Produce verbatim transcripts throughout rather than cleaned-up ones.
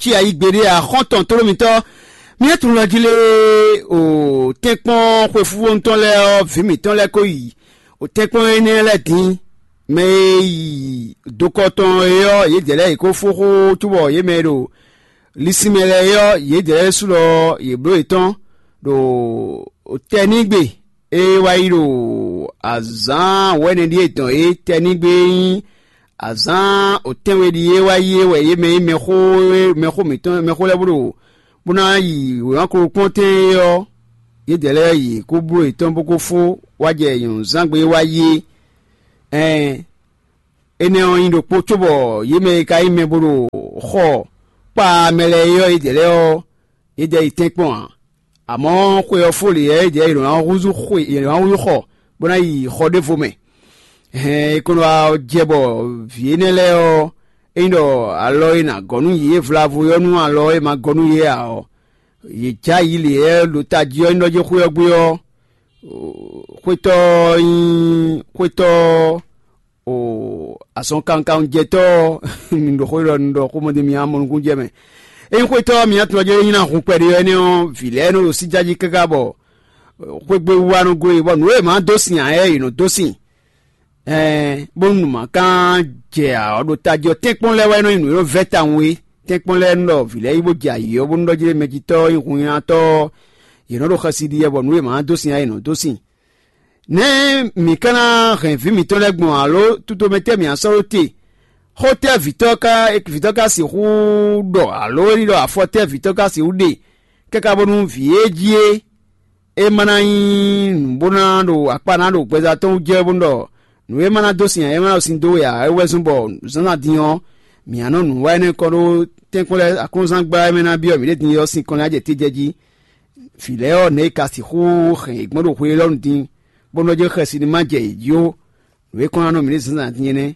cí ayi gbeɖé ǎ. Xɔ́ntɔn tlóló mitɔ́, mǐ tunwun jí lé o tɛ́nkpɔ́n xwefúvonu tɔn lɛ́ɛ ɔ́, vǐ mǐtɔn lɛ́ɛ ko yi o tɛ́nkpɔ́n énɛ́ lɛ́ɛ din. Mɛ e yi dokɔ tɔn é ɔ́, yědɛɛ lɛ́ɛ yě ko fó xó cóbɔ yě mɛ e ɖo linsinmɛ lɛ́ɛ é ɔ́, yědɛɛ lɛ́ɛ ɖésú lɔ yě bló yětɔn ɖo tɛnígbe e wá yi ɖo azǎn wɛ̌nɛ ɖíe dɔn é. Tɛnígbe e nyí azǎn otɛ́nwe ɖíe wá yi é wɛ yě mɛ e nyí mɛxó mɛxó mǐtɔn mɛxó lɛ́ɛ bó ɖo bó ná yi wěma kplɔ́ntɛn é ɔ́, yědɛɛ lɛ́ɛ yi kó bló yětɔn bó kó fó wá jɛ nyɔ̌nuzángbe e wá yi é. Ɛn, énɛ́ ɔ́ nyí ɖokpó cóbɔ yě mɛ e ka nyí mɛ bó ɖo xɔ kpá mɛ lɛ́ɛ é ɔ́, yědɛɛ lɛ́ɛ ɔ́, yědɛɛ yi tɛ́nkpɔ́n ǎ. Amɔ̌, xwe ɔ́ fó lě ɔ́, yědɛɛ yi lɔ̌n ná húzú xwe, yi lɔ̌n ná húzú xɔ bó ná yi xɔ ɖěvo mɛ. Hɛn, è ko nɔ wá jɛ bɔ vǐ énɛ́ lɛ́ɛ ɔ́, é nyí ɖɔ alɔ e nǎ gɔ́ nú yě vlavo ɔ́ nú alɔ e ma gɔ́ nú yě ǎ ɔ́, yě jɛ ayǐ lě e ɖo tají ɔ́ nyí ɖɔ jɛ́n xwé ɔ́ gbé ɔ́, xwétɔ́ ɔ́ nyí xwétɔ́ o azɔn kankanjɛtɔ́ ɔ́. Mi ɖo xó ɖɔ un ɖɔ xó mɔdé mi amɔ nukún jɛ mɛ. Ényí xwétɔ́ mi atɔn jɛ nyí ná hun kpɛɖé ɔ́, énɛ́ ɔ́, vǐ lɛ́ɛ nɔ ɖo sí jájí káká bɔ xwégbé wú wá nɔ gó e, bɔ nǔ e mǎ dó sin ǎ, yě nɔ dó sin. Ɛɛ, bónú nǔ ma kán jɛ ǎ ɔ́, ɖo tají ɔ́, tɛ́nkpɔ́n lɛ́ɛ wɛ nɔ nyí nǔ e nɔ vɛ́ tawun é. Tɛ́nkpɔ́n lɛ́ɛ nɔ ɖɔ vǐ lɛ́ɛ yi bó jɛ ayǐ ɔ́, bónú ɖɔ jí mɛjitɔ́ nyí hunnyánátɔ́ ɔ́, yě nɔ ɖo xɛsi ɖi wɛ, bɔ nǔ e mǎ dó sin ɔ́, yě nɔ dó sin. Nɛ̌ mǐ ka ná hɛn vǐ mǐtɔn lɛ́ɛ gbɔn, alo tutomɛ tɛ́ mǐ ná sɔ́ ɖó te? Xó tɛ́ vǐtɔ́ ka vǐtɔ́ ka sixú ɖɔ, alo é ní ɖɔ afɔ tɛ́ vǐtɔ́ ka sixú ɖe, káká bónú vǐ e jí é é ma ná nyí nǔ bó ná ɖo akpá ná ɖo gbɛzán tɔn wú jɛ bónú ɖɔ nǔ e ma ná dó sin ǎ, é ma ná ɖo sin dó we ǎ, é wɛ zɔ́n bɔ zǎnzǎn din ɔ́, mǐ ná nɔ nǔ wa énɛ́ kɔn ɖó tɛ́nkpɔ́n lɛ́ɛ aklúnɔzán gbá e mɛ ná byɔ́ mǐɖée din é ɔ́ sín kɔn lɛ́ɛ jɛ te jɛ jí. Vǐ lɛ́ɛ ɔ́, nɛ̌ è ka sixú hɛn yě gbɔn ɖo hwe élɔ́ nu din, bó nɔ́ jɛ xɛsi ní ma jɛ yě jí ó. Nǔ e kɔn ná nɔ mǐ ɖe zǎnzǎn din é nɛ́.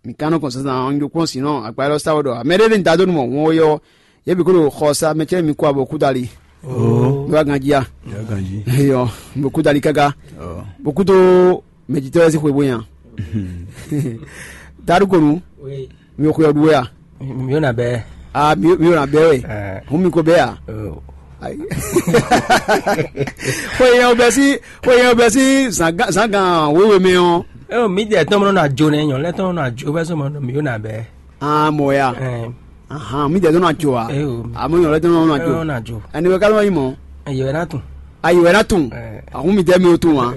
Mǐ ka nɔ gbɔn zǎnzǎn ɔ́, un ɖo kpɔ́n sin nɔ agbára élɔ́ sa wɛ ɖɔ mɛ ɖé ní da dó nú mɔ̌ wɔn ó yɔ, yě bǐ ko ɖo xɔ sa mɛ cɛ́ mi kó abo kúdali. Ó, mi wá ganjí a? Yá ganjí. Eyɔ, mi ɖo kúdali káká. Ó. Bó kúdó mɛjitɔ́ lɛ́ɛ sín xwe bó nya. Daɖu ko nu, mi xwe ɔ́ ɖu wɛ a? Mi yóò nà bɛ. Ah, mi yóò nà bɛ wɛ. Hun mi ko bɛ a? Xwe yẹn o bɛ sí xwe yẹn o bɛ sí zǎngán wéwe mɛ ɔ́. Eo mi dɛ tɔn mɔ na jo nɛ nyɔ lɛ tɔn na jo bɛ sɔmɔ mi yóò nà bɛ. Ah, mɔ ya. Ahan, mi dɛ tɔn na jo a? Eo. Amɔ nyɔ lɛ tɔn na jo. Eo na jo. Ɛni wɛ kálɔ yi mɔ. Yɛ wɛ na tun. Ayi wɛ na tun. Ahun mi dɛ mi o tun wa.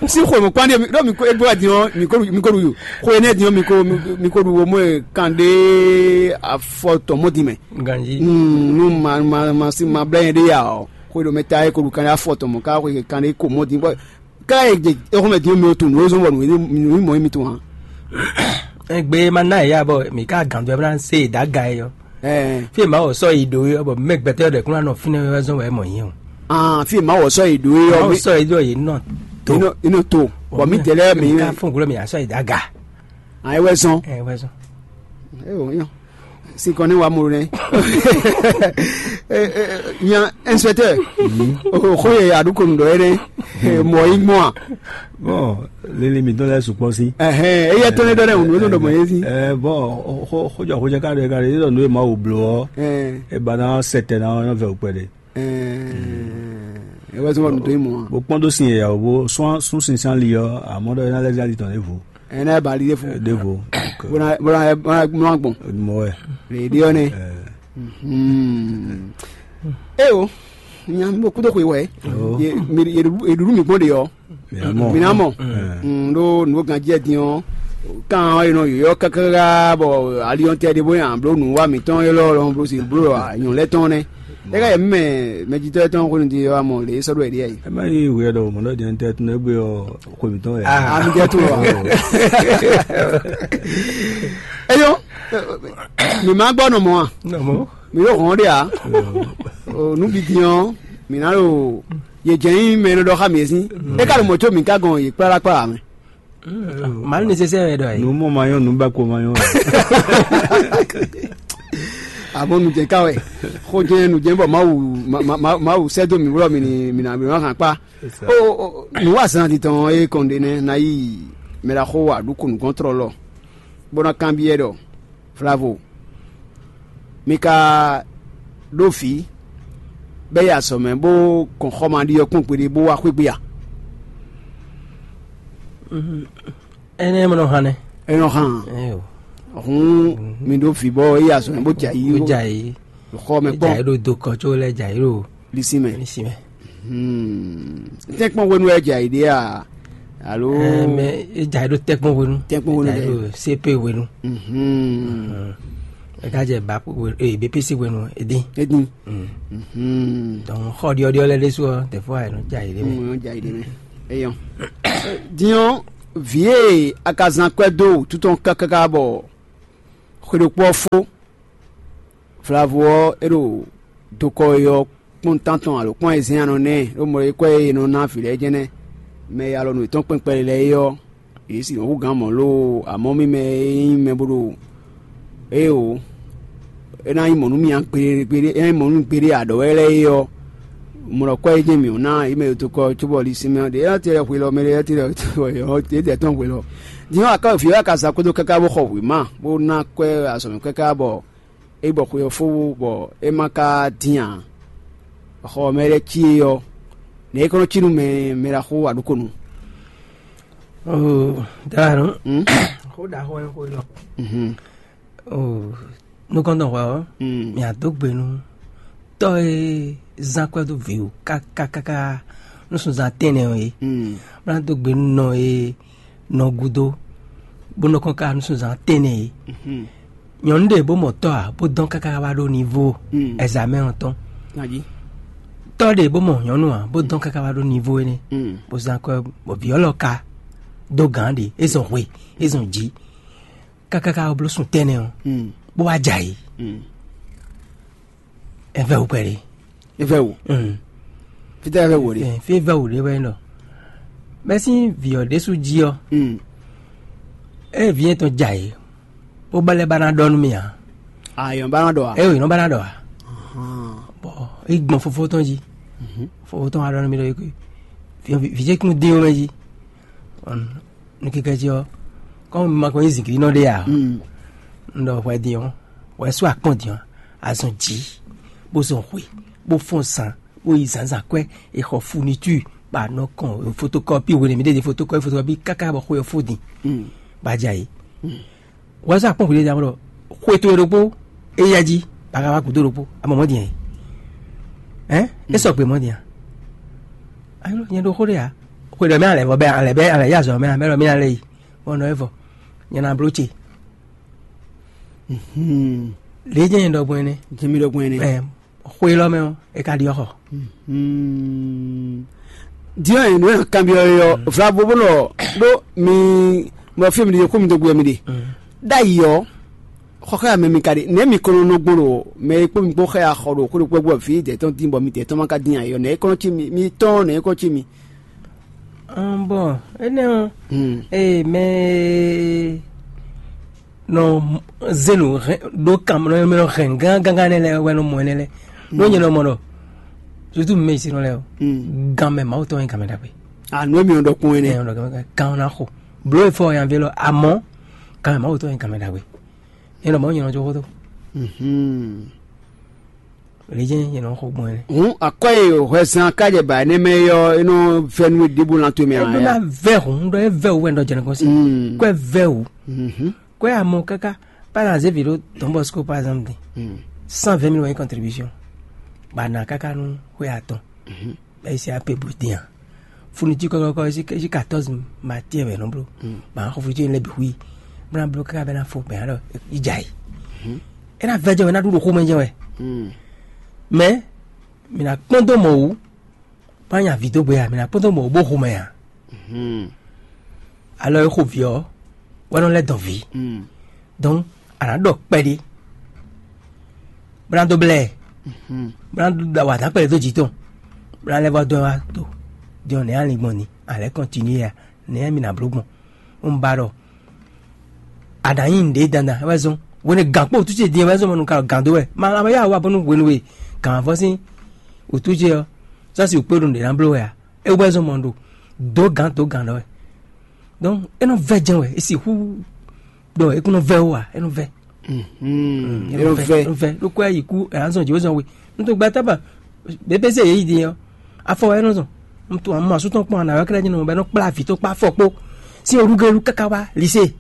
Si xwe mo kpande mi ɖo mi ko ebo adi ɔ mi ko mi ko ɖu yo. Xwe ne di ɔ mi ko mi ko ɖu wo mo kan ɖe afɔ tɔ mɔ di mɛ. Ganji. Nu ma ma ma si ma bla yẹn ɖe ya ɔ. Xwe ɖo mɛ ta ye ko ɖu kan ɖe afɔ tɔ mɔ ka xwe kan ɖe ko mɔ di bɔ. Ka ye je exɔmɛ di ɔ mi o tun nu o zɔn bɔ nu nu mɔ mi tun wa. Egbe ma na ya bɔ mi ka gan do bla se da ga yɔ. Ɛɛ. Fi ma wɔ sɔ yi do yɔ bɔ mɛ gbɛtɛ ɖe kún anɔ fínɛ wɛ zɔn wɛ mɔ yɛn o. Ah, fi ma wɔ sɔ yi do yɔ. Ma wɔ sɔ yi do yi nɔ. To. Ino ino to. Bɔ mi dɛlɛ mi. Ka fún gulɔ mi asɔ yi da ga. An ewɛ zɔn. Ɛ wɛ zɔn. Eyo yɔ. Si kɔni wa mo nɛ. Nya inspecteur. O ko ye adu ko ndo ere. Mɔ yi mɔ a. Bon, lili mi dɔn lɛ sukpɔ si. Ɛhɛn, eye tɔn ne dɔ ne unu dɔ mɔ ye si. Ɛ bɔn xojɔ xojɔ ka ɖe ka ɖe yɔrɔ nu ye ma wo blo ɔ. Ɛ. E ba na sɛtɛ na ɔyɔ vɛ okpɛ ɖe. Ɛɛ, e wɛ zɔn bɔ nu to yi mɔ a. Bo kpɔn do sin yɛ o bo sɔn sun sin san li ɔ amɔ dɔ ena lɛ zali tɔn ɖevo. Ena ba li ɖevo. Ɖevo. Bona bona bona bona gbɔn. Mɔ wɛ. Le ɖe ɔ ne. Ɛ. Hmm. Eyo, nya mi bo kudo xwe wɛ. Ye mi ye ɖuɖu mi gbɔn de yɔ. Mina mɔ. Ɖo nǔ ganjí ɛ din ɔ́, kan ɔ́ e nɔ yɔyɔ káká bɔ aliɔntɛ ɖé bó nyi bló nǔwa mǐtɔn élɔ́ lɔn bló sin bló nyɔ̌nu lɛ́ɛ tɔn nɛ́. É ká yɛ mɛ mɛjitɔ́ tɔn xwenu din ɔ́, amɔ lě é sɔ́ ɖó ɛɖíɛ yi. Ɛ má yi wɛ ɖɔ mɔ̌ ɖɔ jɛn tɛ tún égbé ɔ́ xwe mǐtɔn wɛ. Ami jɛ tún wɛ. Eyɔ, mi ma gbɔ nɔ mɔ a? Mi ɖo hɔn ɖe a? O nu bi din ɔ́, mi na ɖo ye jɛ nyi mɛ e nɔ ɖɔ xá mi é sín. É ka ɖo mɔ̌ có mi ka gɔn yě kplá kplá mɛ. Mal nécessaire wɛ ɖɔ yě. Nu mɔ ma nyɔ, nu ba ko ma nyɔ. Abo nu jɛ ka wɛ. Xo jɛ nu jɛ bɔ Mawu ma- ma- ma- Mawu sɛ do mi wlɔ mi ni mi na mi ma hàn kpa. O o, nu wa zan di tɔn e kɔn ɖe nɛ na yi mɛ la xo wa ɖu ko nukɔn trɔ lɔ. Bó ná kanbyɔ́ ɖɔ Flavo. Mi ka ɖó vǐ bɔ é yi azɔ̌ mɛ bó gɔn xɔmaɖiɔ́kpɔ́n gbeɖé bó wá xwé gbe a? Énɛ́ mɔ nɔ hán nɛ́. É nɔ hán. Hǔn mi ɖó vǐ bɔ é yi azɔ̌ mɛ bó jɛ ayǐ. Ó jɛ ayǐ. Xɔ mɛ kpɔ́n. Jɛ ayǐ ɖo dokɔ có lɛ́ jɛ ayǐ ɖo lisi mɛ. Lisi mɛ. Tɛ́nkpɔ́n hwenu wɛ jɛ ayǐ ɖe a? Alo. Mɛ é jɛ ayǐ ɖo tɛ́kpɔ́n hwenu. Tɛ́kpɔ́n hwenu Jɛ ayǐ ɖe. Ɖo sepe hwenu. Ɛ ká jɛ ba ee bépesi hwenu é dín. Edin. Donc xɔ ɖiɔɖiɔ lɛ ɖésú ɔ tɛfɔ ayɛ nɔ jɛ ayǐ ɖe mɛ. Mo yɔn jɛ ayǐ ɖe mɛ. Eyɔn. Diɔn, vǐ e a ka zán kwɛ́ dó wútu tɔn káká bɔ xwe ɖokpó ɔ́ fó. Vlavo ɔ́, é ɖo dokɔ e ɔ́ kpɔ́n tántɔn alo kpɔ́n e zɛ́n anɔ nɛ́ ɖó mɔ é kwɛ́ e è nɔ ná vǐ lɛ́ɛ jɛ́n nɛ́. Mɛ e alɔ nǔ yětɔn kpɛn kpɛɖé lɛ́ɛ é ɔ́, yě sì nɔ hú gǎn mɔ̌ loo, amɔ̌ mì mɛ e nyí mɛ bó ɖo éeǒ, é ná nyí mɔ̌ nú mì ǎ gbeɖé gbeɖé, é ná nyí mɔ̌ nú gbeɖé aɖɔ̌ wɛ lɛ́ɛ é ɔ́, mɔ ɖɔ kwɛ́ e jɛ́n mǐ ɔ́ ná yě mɛ e dokɔ cóbɔ ɖi sinmɛ ɔ́ ɖe é ná tɛ́ hwe lɔ mɛ ɖé é tɛ́ ɖɔ é tɛ́ tɔn hwe lɔ. Din ɔ́, aká vǐ ɔ́ ka zán kpódó káká bó xɔ wěma bó ná kwɛ́ azɔ̌ mɛ káká bɔ é bɔ xwe ɔ́ fó bɔ é ma ka dín ǎ. Xɔ ɔ́ mɛ lɛ́ cí é ɔ́, nɛ̌ é kɔn nɔ cí nú mɛ mɛ ɖaxó aɖukonu? Oo, dǎnù. Xó ɖaxó wɛ xó élɔ́. Oo, nukɔntɔn hwɛ ɔ́, mì adó gbe nú tɔ́ e zán kwɛ́ dó vǐ wú káká káká nú sunzán tɛ́nnɛ ɔ́ é. Bó ná dó gbe nú nɔ e nɔ gúdo bó nɔ kɔn ká nú sunzán tɛ́nnɛ é. Nyɔ̌nu ɖé bó mɔ tɔ́ ǎ bó dɔn káká wá ɖó nivo ɛzamɛ ɔ́ tɔn. Tɔ́ ɖé bó mɔ nyɔ̌nu ǎ bó dɔn káká wá ɖó nivo énɛ́. Bó zán kwɛ́ bɔ vǐ ɔ́ lɔ ka dó gǎn ɖé é zɔn hwe é zɔn jǐ. Kákáká ɔ́ bló sun tɛ́nɛ ɔ́, bó wá jɛ ayǐ. Ɛ vɛ wǔ kpɛɖé. É vɛ wò. Fítɛ́ é vɛ wò ɖe. Fí é vɛ wǔ ɖé wɛ nɔ. Mɛ sín vǐ ɔ́ ɖésú jí ɔ́, ée vǐ yɛn tɔn jɛ ayǐ, bó ba lɛ́ ba ná ɖɔ nú mì ǎ. Ayɔn ba ná ɖɔ a. Ée wǒ nɔ ba ná ɖɔ ǎ. Bɔ é gbɔn fofó tɔn jí. Fofó tɔn wá ɖɔ nú mì ɖɔ é kú. Vǐ ce kún dín ó mɛ jí. Nú kíkɛ́ jí ɔ́, kɔ́ un ma ko nyí zǐngídínɔ ɖé ǎ. Un ɖɔ hwɛ din ɔ́, hwɛ sú akpɔ́n din ɔ́, azɔn jǐ, bó zɔn hwe, bó fɔ́n zan, bó yi zǎnzǎn kwɛ́, è xɔ funitu, bɔ a nɔ kɔn fotokɔpi hwenu mi ɖe ɖe fotokɔpi fotokɔpi káká bɔ xwe ɔ́ fó din, bɔ a jɛ ayǐ. Hwɛ sú akpɔ́n hwenu ɖé ɖɔ xwe towe ɖokpó, é yá jí, bɔ a ka wá gǔdo ɖokpó, a mɔ mɔ̌ din ɛ? Hɛn, é sɔgbe mɔ̌ din a? Ayo, nyɛ ɖo xó ɖé ǎ. Xwe ɖɔ mɛ alɛ vɔ bɛ alɛ bɛ alɛ yá azɔ̌ mɛ amɛ ɖɔ mɛ alɛ yi. Bɔ nɔ evɔ nyɛ na bló ce. Lě jẹ́ yẹn ɖɔgbɔn ɛnɛ. Jẹ́ mi ɖɔgbɔn ɛnɛ. Ɛ xwe lɔ mɛ ɔ, e ka ɖi ɔxɔ. Diɔ yẹn nɔ kanbiɔ yɔ vlavo bó nɔ ɖó mi nɔ fi mi ɖi kó mi dó gbé mi ɖi. Ɖ'ayǐ ɔ, xɔxɛ amɛ mi ka ɖi nɛ mi kɔnɔ nɔ gbɔn ɖo mɛ e kpó mi kpó xɛ axɔ ɖo kó ɖo kpɛgbɔ fi dɛ tɔn din bɔ mi dɛ tɔn ma ka din ayɔ nɛ e kɔnɔ ci mi mi tɔn nɛ e kɔnɔ ci mi. Ɔn bɔn énɛ́ ɔ́, ee mɛ nɔ zenu ɖó kan nɔ mɛ nɔ hɛn gán gángan nɛ lɛ wɛ nɔ mɔ ɛnɛ lɛ. Nɔ nyɛ nɔ mɔ ɖɔ tutu mɛ isi nɔ lɛ o. Gan mɛ mawu tɔn yɛ gan mɛ ɖagbe. Anu emi ɔn ɖɔkun ɛnɛ. Ɛn ɔn ɖɔ gan na xo blo efɔ yan vɛ lɔ amɔ gan mɛ mawu tɔn yɛ gan mɛ ɖagbe. Nyɛ nɔ mɔ nyɛ nɔ tso xo to. Lě jẹ́ yẹn nɔ xɔ gbɔn yẹn. Hǔn akwɛ́ e hwɛzán ká jɛ ba énɛ́ mɛ é ɔ́, é nɔ vɛ́ nú we ɖěbǔ lan towe mɛ ǎ. Ɛdó ná vɛ hǔn ɖɔ é vɛ wú wɛ ɖɔ jɛnɛ kɔn sí. Kwɛ vɛ wú. Kwɛ amɔ káká bá na zé vǐ ɖó Don Bosco par exemple din. Cent vingt mille wɛ nyí contribution. Ba na káká nú xwé atɔn. Bɛ é sí apé bǔ dín a. Funu jí kɔkɔkɔ é sí quatorze matière wɛ nɔ bló. Ba xɔ funu jí lɛ bǐ hu yi. Bó ná bló káká bɛ ná fo gbɛ alɔ yi dza yi. É ná vɛ jɛ wɛ ná ɖu ɖo xomɛ jɛ wɛ. Mɛ mi ná kpɔ́n dó mɔ wú bá nya vǐ dó gbe a mi ná kpɔ́n dó mɔ wú bó xomɛ a. Alɔ e xo vǐ ɔ́ wɛ nɔ lɛ́ dɔn vǐ. Donc a nǎ ɖɔ kpɛɖé bó ná dó blɛ́ ɛ bó ná ɖo wa dǎ kpɛɖé dó jǐ tɔn bó ná lɛ́ vɔ dɔn wá do. Din ɔ́ nɛ̌ a lin gbɔn ni a lɛ́ kɔntinué a nɛ̌ mi ná bló gbɔn? Un ba ɖɔ a nǎ nyi nǔɖé dandan é wɛ zɔ́n hwenu gǎn kpó wǔtú ce din é wɛ zɔ́n mɔ nú ka gǎn dó wɛ ma la ma yá wa bónú hwenu e gǎn vɔ sín wǔtú ce ɔ́ sɔ́si wǔkpé ɖo nǔɖé ná bló wɛ a é wɛ zɔ́n mɔ ɖo dǒ gǎn dǒ gǎn ɖɔ wɛ. Donc é nɔ vɛ jɛn wɛ é sixú ɖɔ é kún nɔ vɛ ó a é nɔ vɛ. Mm, e nɔ vɛ. Vɛ ɖó kɔ yi kú ɛ azɔn jǐ wezɔn we. N to gba tábà bébé se yě yi din ɔ́. Afɔ wɛ nɔ zɔn. N to àwọn asú tɔn kpɔn àná wɛ kɛlɛ jínɔ bɛ nɔ kplá avǐ tó kpá afɔ kpó. Sín olúgélu káká wá lise.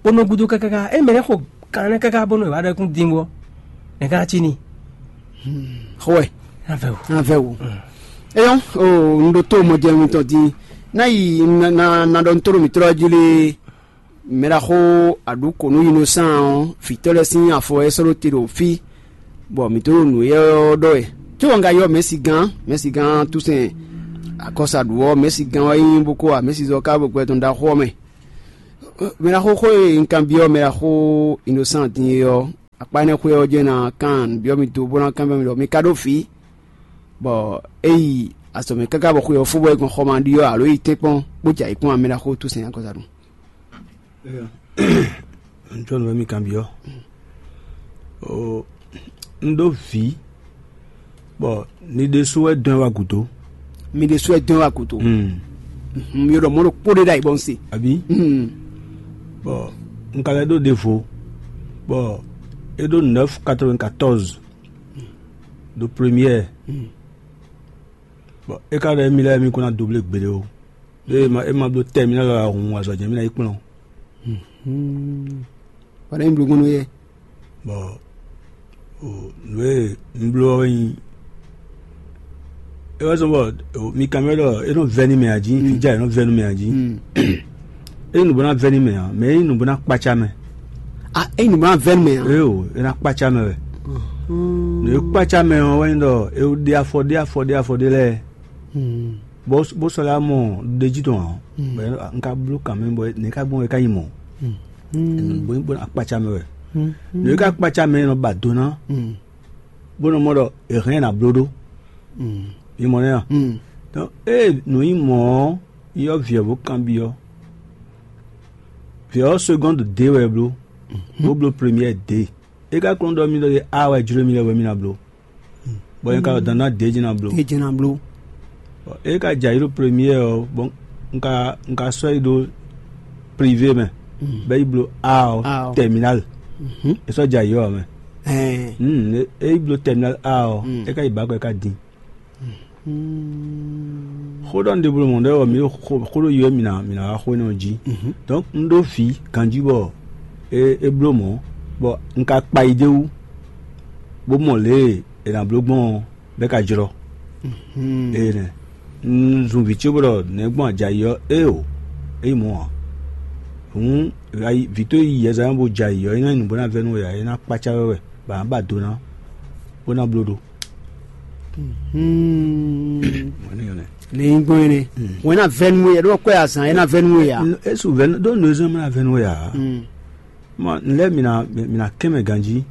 Bó nɔ gúdo káká é mɛ lɛ xɔ kan lɛ káká bó nɔ wá ɖɛkún din wɔ. Nɛ ká cí ni. Xɔɛ. Avɛ o. Avɛ o. Eyɔn o n ɖo tó mɔ jɛ ŋutɔ din. N'a yi na na ɖɔ n tó ɖo mǐ trɔ jí lé. Mɛɖaxó aɖǔ kǒ nú Innocent ɔ́, vǐtɔ́ lɛ́ɛ sín afɔ wɛ é sɔ́ ɖó te ɖo fí, bɔ mǐ tó ɖo nǔ éyɛ́ ɔ́ ɖɔ wɛ. Có wɔ un ka ylɔ́ mɛ̌si gán, mɛ̌si gán Túsɛn akɔ́saɖu ɔ́, mɛ̌si gán wɛ nyí bó kó wá mɛ̌si zɔ ká ɖo gbɛ tɔn ɖaxó ɔ́ mɛ. Mɛɖaxó xó e un kanbyɔ́ mɛɖaxó Innocent din é ɔ́, akpá énɛ́ xwé ɔ́ jɛ́n ná kan nǔbyɔ́ mì dó bó ná kanbyɔ́ mì ɖɔ mi ka ɖó vǐ, bɔ é yi azɔ̌ mɛ káká bɔ xwe ɔ́ fó bɔ é gbɔn xɔ ma ɖi ɔ́, alo é yi tɛ́nkpɔ́n bó jɛ ayǐkúngban mɛɖaxó Túsɛn akɔ́saɖu. Ntɔ́ nǔ e mi kanbyɔ́. O, un ɖó vǐ, bɔ ni ɖésú wɛ dɔn ɛ wá gǔdo. Mi ɖésú wɛ dɔn ɛ wá gǔdo. Hmm. Mi ɖɔ mɔ̌ ɖokpó ɖé ɖ'ayǐ bɔ un se. Àbí? Hmm. Bɔ un ka lɛ́ ɖó ɖěvo, bɔ é ɖó neuf quatre-vingt-quatorze ɖo première. Hmm. Bɔ é ka ɖɔ émí lɛ́ɛ mí kún ná dó blé gbeɖé ó. Ɖó é ma é ma bló tɛ́ mì ná lɔ hun azɔ̌ jɛ́n mì ná yi kplɔ́n. Wǎ ɖé mi bló gbɔn nú yɛ. Bɔ o nǔ e un bló ɔ́ wɛ nyí é wá zɔ́n bɔ o mi kan mɛ ɖɔ é nɔ vɛ́ nú mɛ ǎ jí, fíjá é nɔ vɛ́ nú mɛ ǎ jí. É nyí nǔ bó ná vɛ́ nú mɛ ǎ, mɛ é nyí nǔ bó ná kpácá mɛ. A é nyí nǔ bó ná vɛ́ nú mɛ ǎ. É o é ná kpácá mɛ wɛ. Nǔ e kpácá mɛ ɔ́ wɛ nyí ɖɔ é ɖe afɔ ɖé afɔ ɖé afɔ ɖé lɛ́ɛ. Bó bó sɔ́ lɛ́ mɔ ɖejí tɔn ǎ. Bɔ un ka bló kan mɛ bɔ nɛ̌ ka gbɔn wɛ ká nyí mɔ̌? Bó bó akpácá mɛ wɛ. Nǔ e ka kpácá mɛ nɔ ba do ná, bó nɔ mɔ ɖɔ è hɛn ɛ ná bló ɖó. Mi mɔ nɛ́ a? Donc ée nǔ nyí mɔ̌ ɔ́, yɔ vǐ ɔ́ bó kanbyɔ́. Vǐ ɔ́ segɔ́ndu dě wɛ é bló, bó bló première dě. É ka kplɔ́n ɖɔ mì ɖɔ é a wɛ jló mì lɛ́ɛ wɛ mì ná bló. Bɔ nyɛ ka ɖo dandan ɖě jí ná bló. É jɛ́n ná bló. Bɔ é ka jɛ ayǐ ɖo première ɔ́, bɔ un ka un ka sɔ́ yi ɖó privé mɛ, bɔ é yi bló A ɔ́, A ɔ́. Terminal. É sɔ́ jɛ ayǐ ɔ́ mɛ. Ɛɛ. Hmm, é é yi bló terminal A ɔ́, é ka yi bǎ kɔ é ka dín. Xó ɖɔ un ɖe bló mɔ̌ ɖɔ mǐ ɖo xó xó ɖo yɔ mǐ ná mǐ ná wá xó énɛ́ ɔ́ jí. Donc un ɖó vǐ ganjí bɔ é é bló mɔ̌, bɔ un ka kpa yi d'é wú, bó mɔ lě e è nǎ bló gbɔn ɔ́, bɔ é ka jlɔ́. Ée nɛ́ un zun vǐ ce bó ɖɔ nɛ̌ gbɔn a jɛ ayǐ ɔ́, éeǒ, é nyí mɔ̌ ǎ. Hǔn vǐ tó yi yɛzán bó jɛ ayǐ ɔ́, é ná nyí nǔ bó ná vɛ́ nú we ǎ, é ná kpácá wɛ wɛ, bɔ a nǎ ba do ná, bó ná bló ɖó. Ní nyí gbɔn énɛ́. Wɛn ná vɛ́ nú we, ɖó kɔ́ azǎn é ná vɛ́ nú we ǎ. É su vɛ́ ɖó nǔ e zɔ́n é má ná vɛ́ nú we ǎ. Ma lɛ́ mǐ ná mǐ ná kɛn mɛ ganjí.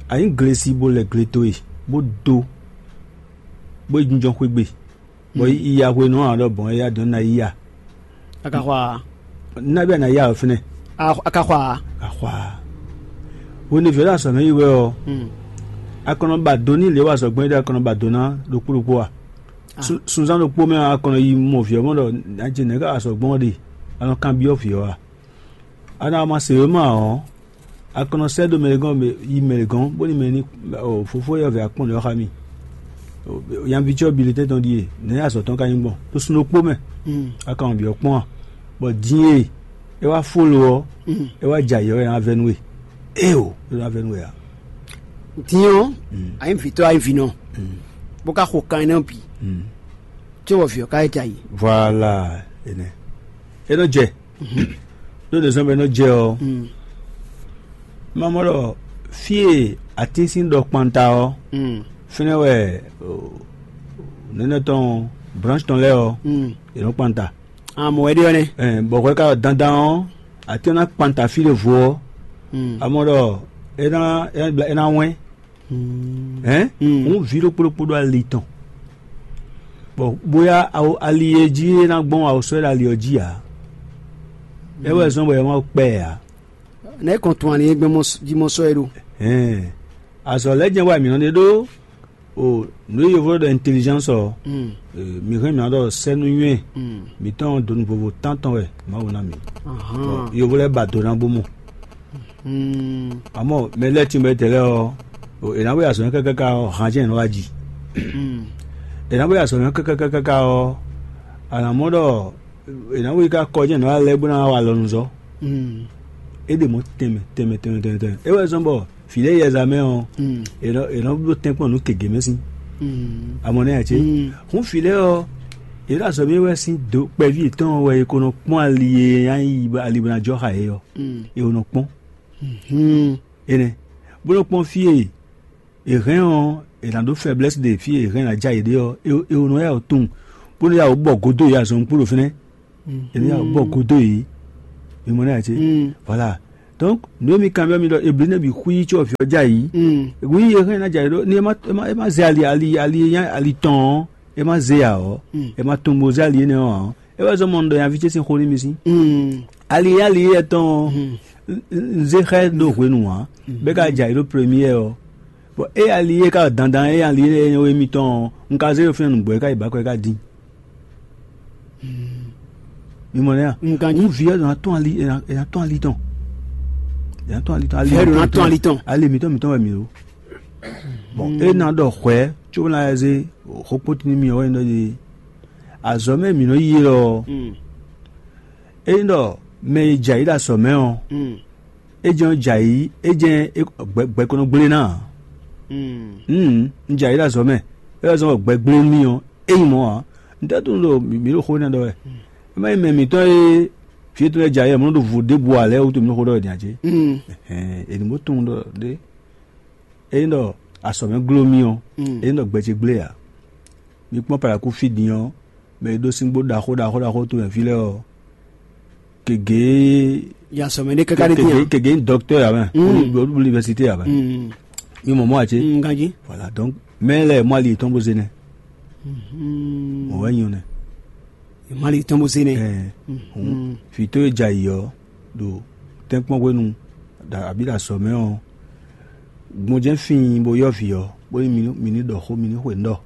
A nyǐ glesi bó lɛ gle towe, bó dó, bó yi jínjɔ́n xwé gbe, bɔ yi ya hwenu ɔ́ ǎ ɖɔ bɔn éyá dɔn ná yi ya. A ka xɔ a? Ná bí a nǎ ya ɔ fínɛ́. A ka xɔ a? A xɔ a? Hwenu e vǐ ɔ́ ɖo azɔ̌ mɛ yi wɛ ɔ́, a kɔn nɔ ba do n'i lě e wa azɔ̌ gbɔn é ɖe a kɔn nɔ ba do ná ɖokpó ɖokpó a? Sunzán ɖokpó mɛ a kɔn nɔ yi mɔ vǐ ɔ́ mɔ ɖɔ nǎ jɛ nɛ̌ ká azɔ̌ gbɔn ɔ́ ɖe? A nɔ kanbyɔ́ vǐ ɔ́ a? A nɔ ma se wěma ɔ́, a kɔn nɔ sɛ́ dó mɛ ɖé gɔ́n yi mɛ ɖé gɔ́n bónú mɛ ní fofó yɔ́vǐ akpɔ́n ɖě ɔ́ xá mì. Nyaví ce ɔ́ bilitɛ́n tɔn ɖíe nɛ̌ azɔ̌ tɔn ka nyí gbɔn ɖo sun ɖokpó mɛ. A ka wɔn vǐ ɔ́ kpɔ́n a? Bɔ din e é wá fó lo ɔ́, é wá jɛ ayǐ ɔ́ é ná vɛ́ nú we. Éeǒ, é ná vɛ́ nú we ǎ. Din ɔ́, a nyí vǐtɔ́ a nyí vǐnɔ, bó ka xo kan énɛ́ bǐ, có bɔ vǐ ɔ́ ka yi jɛ ayǐ. Voilà. Énɛ́ é nɔ jɛ. Ɖó ɖě zɔ́n bɔ é nɔ jɛ ɔ́, má mɔ ɖɔ fí e atín sín ɖɔ kpanta ɔ́, fínɛ́ wɛ nɛnɛ tɔn branche tɔn lɛ́ɛ ɔ́, è nɔ kpanta. Amɔ wɛ ɖe ɔ́ nɛ́. Bɔ hwɛ ka ɖɔ dandan ɔ́, atín ɔ́ ná kpanta fí ɖěvo ɔ́, amɔ ɖɔ é ná é ná wɛ́n. Hɛn, hǔn vǐ ɖokpó ɖokpó ɖó ali tɔn, bɔ bóyá ali e jí é ná gbɔn awo sɔ́ ɖo ali ɔ́ jí ǎ. É wɛ zɔ́n bɔ è ma kpɛ ɛ ǎ. Nɛ̌ kɔn tun ani e gbɛn jí mɔ sɔ́ é ɖó? Hɛn, azɔ̌ lɛ́ɛ jɛ́n wɛ mǐ nɔ ɖe ɖó o nǔ e yovo ɖɔ intelligence ɔ́, mǐ hɛn mǐ nɔ ɖɔ sɛ́nú nywɛ́ mǐtɔn donu vovo tántɔn wɛ Mawu ná mǐ. Yovo lɛ́ɛ ba do ná bó mɔ. Mm. Àmọ́ mɛ lɛ́ɛ tínbɔ tɛlɛ ɔ́, è nǎ bó yi azɔ̌ kákáká ɔ́, han jɛ́n è nɔ wá ji. Mm. È nǎ bó yi azɔ̌ kákáká ɔ́, à nǎ mɔ ɖɔ è nǎ bó yi ká kɔ jɛ́n è nɔ wá lɛ́ bó ná wá wa alɔnuzɔ́. Mm. É ɖe mɔ̌ tɛnmɛ tɛnmɛ tɛnmɛ tɛnmɛ tɛnmɛ. É wɛ zɔ́n bɔ vǐ lɛ́ɛ yi azǎn mɛ ɔ́, Mm. è nɔ è nɔ bló tɛ́nkpɔ́n nǔ gěgé mɛ sín. Mm. Amɔ nɛ́ ǎ cé? Mm. Hǔn vǐ lɛ́ɛ ɔ́, yě ɖo azɔ̌ mɛ wɛ sín dǒ kpɛví yětɔn ɔ́ wɛ è ko nɔ kpɔ́n ali e nyí ali bó ná jɔ xá yě ɔ́. Mm. È ko nɔ kpɔ́n. Mm. Énɛ́, bó nɔ́ kpɔ́n fí e è hɛn ɔ́, è nǎ ɖó fɛblɛ́si ɖe fí e è hɛn ná ja yě ɖe ɔ́, è è nɔ yá wǔ tunwun, bó nɔ́ yá wǔ bɔ gǒdo yě azɔn kpó ɖo fínɛ́. È nɔ yá wǔ bɔ gǒdo yě. Mi mɔ nɛ́ ǎ cé? Voilà. Donc nǔ e mi kanbyɔ́ mi ɖɔ ebli nɛ́ bǐ xwí có vǐ ɔ́ ja yǐ. Wi e hɛn ná ja yě ɖó ni é má é má é má zɛ ali ali ali e nyí ali tɔn ɔ́, é má zé ǎ ɔ́, é má tunwun bó zé ali énɛ́ ɔ́ ǎ ɔ́, é wɛ zɔ́n mɔ un ɖɔ nyaví ce sín xó nú mi sín. Ali e ali éyɛ́ tɔn ɔ́, un zé xá ɛ ɖó hwenu ǎ, bɔ é ka jɛ ayǐ ɖó première ɔ́. Bɔ é ali e ka dandan é ali e nyɔ́ émítɔn ɔ́, un ka zé ɖo fínɛ́ nǔgbó é ka yi bǎ kɔ é ka dín. Mi mɔ nɛ́ a? Un ganjí. Un vǐ ɔ́ ɖo ná tɔ́n ali, è nǎ è nǎ tɔ́n ali tɔn. È nǎ tɔ́n ali tɔn. Vǐ ɔ́ ɖo ná tɔ́n ali tɔn. Ali mǐtɔn mǐtɔn wɛ mǐ ɖó. Bon, é ná ɖɔ hwɛ̌ có ná zé xó kpótí nú mì ɔ́ wɛ nyí ɖɔ azɔ̌ mɛ mǐ nɔ yi é lɔ ɔ́, ényí ɖɔ mɛ e jɛ ayǐ ɖo azɔ̌ mɛ ɔ́, é jɛ́n jɛ ayǐ, é jɛ́n gbɛ gbɛ ko nɔ gblé ná ǎ. Un jɛ ayǐ ɖo azɔ̌ mɛ, é wɛ zɔ́n bɔ gbɛ gblé nú mì ɔ́, é nyí mɔ̌ ǎ. Un tɛ́ tunwun ɖo mǐ ɖo xó énɛ́ ɖɔ wɛ. É má nyí mɛ mǐtɔn e vǐ yětɔn lɛ́ɛ jɛ ayǐ wɛ mɔ̌ nɔ ɖo vo ɖěbǔ ǎ lɛ́ɛ wútu mǐ nɔ xó ɖɔ wɛ din ǎ cé? È nǐ bó tunwun ɖɔ ɖé. Ényí ɖɔ azɔ̌ mɛ gló mì ɔ́, ényí ɖɔ gbɛ ce gblé ǎ. Mi kpɔ́n Palakú fí din ɔ́, mɛ e ɖó síngbó ɖaxó ɖaxó ɖaxó towe fí lɛ́ɛ ɔ́, gěgé Ya sɔ mɛ ɖé káká ɖé dín gěgé a? Gěgé nyí dɔktɔ́ ǎ mɛ, Mm. bó ɖu univɛsité ǎ mɛ. Mm. Mi mɔ mɔ̌ ǎ cé? Mm, ganjí. Voilà, donc mɛ lɛ́ɛ mɔ ali yětɔn bó zé nɛ́. Mm. Mɔ̌ wɛ nyí ɔ́ nɛ́. Mali tɔn bó zé nɛ́. Ɛɛ, hǔn, vǐ towe jɛ ayǐ ɔ́, ɖo tɛ́nkpɔ́n hwenu, ɖo abǐ ɖo azɔ̌ mɛ ɔ́, gbɔn jɛ́n fíin bó yɔ́ vǐ ɔ́, bónú mi ní mi ní ɖɔ xó, mi ní xwe nǔ ɖɔ,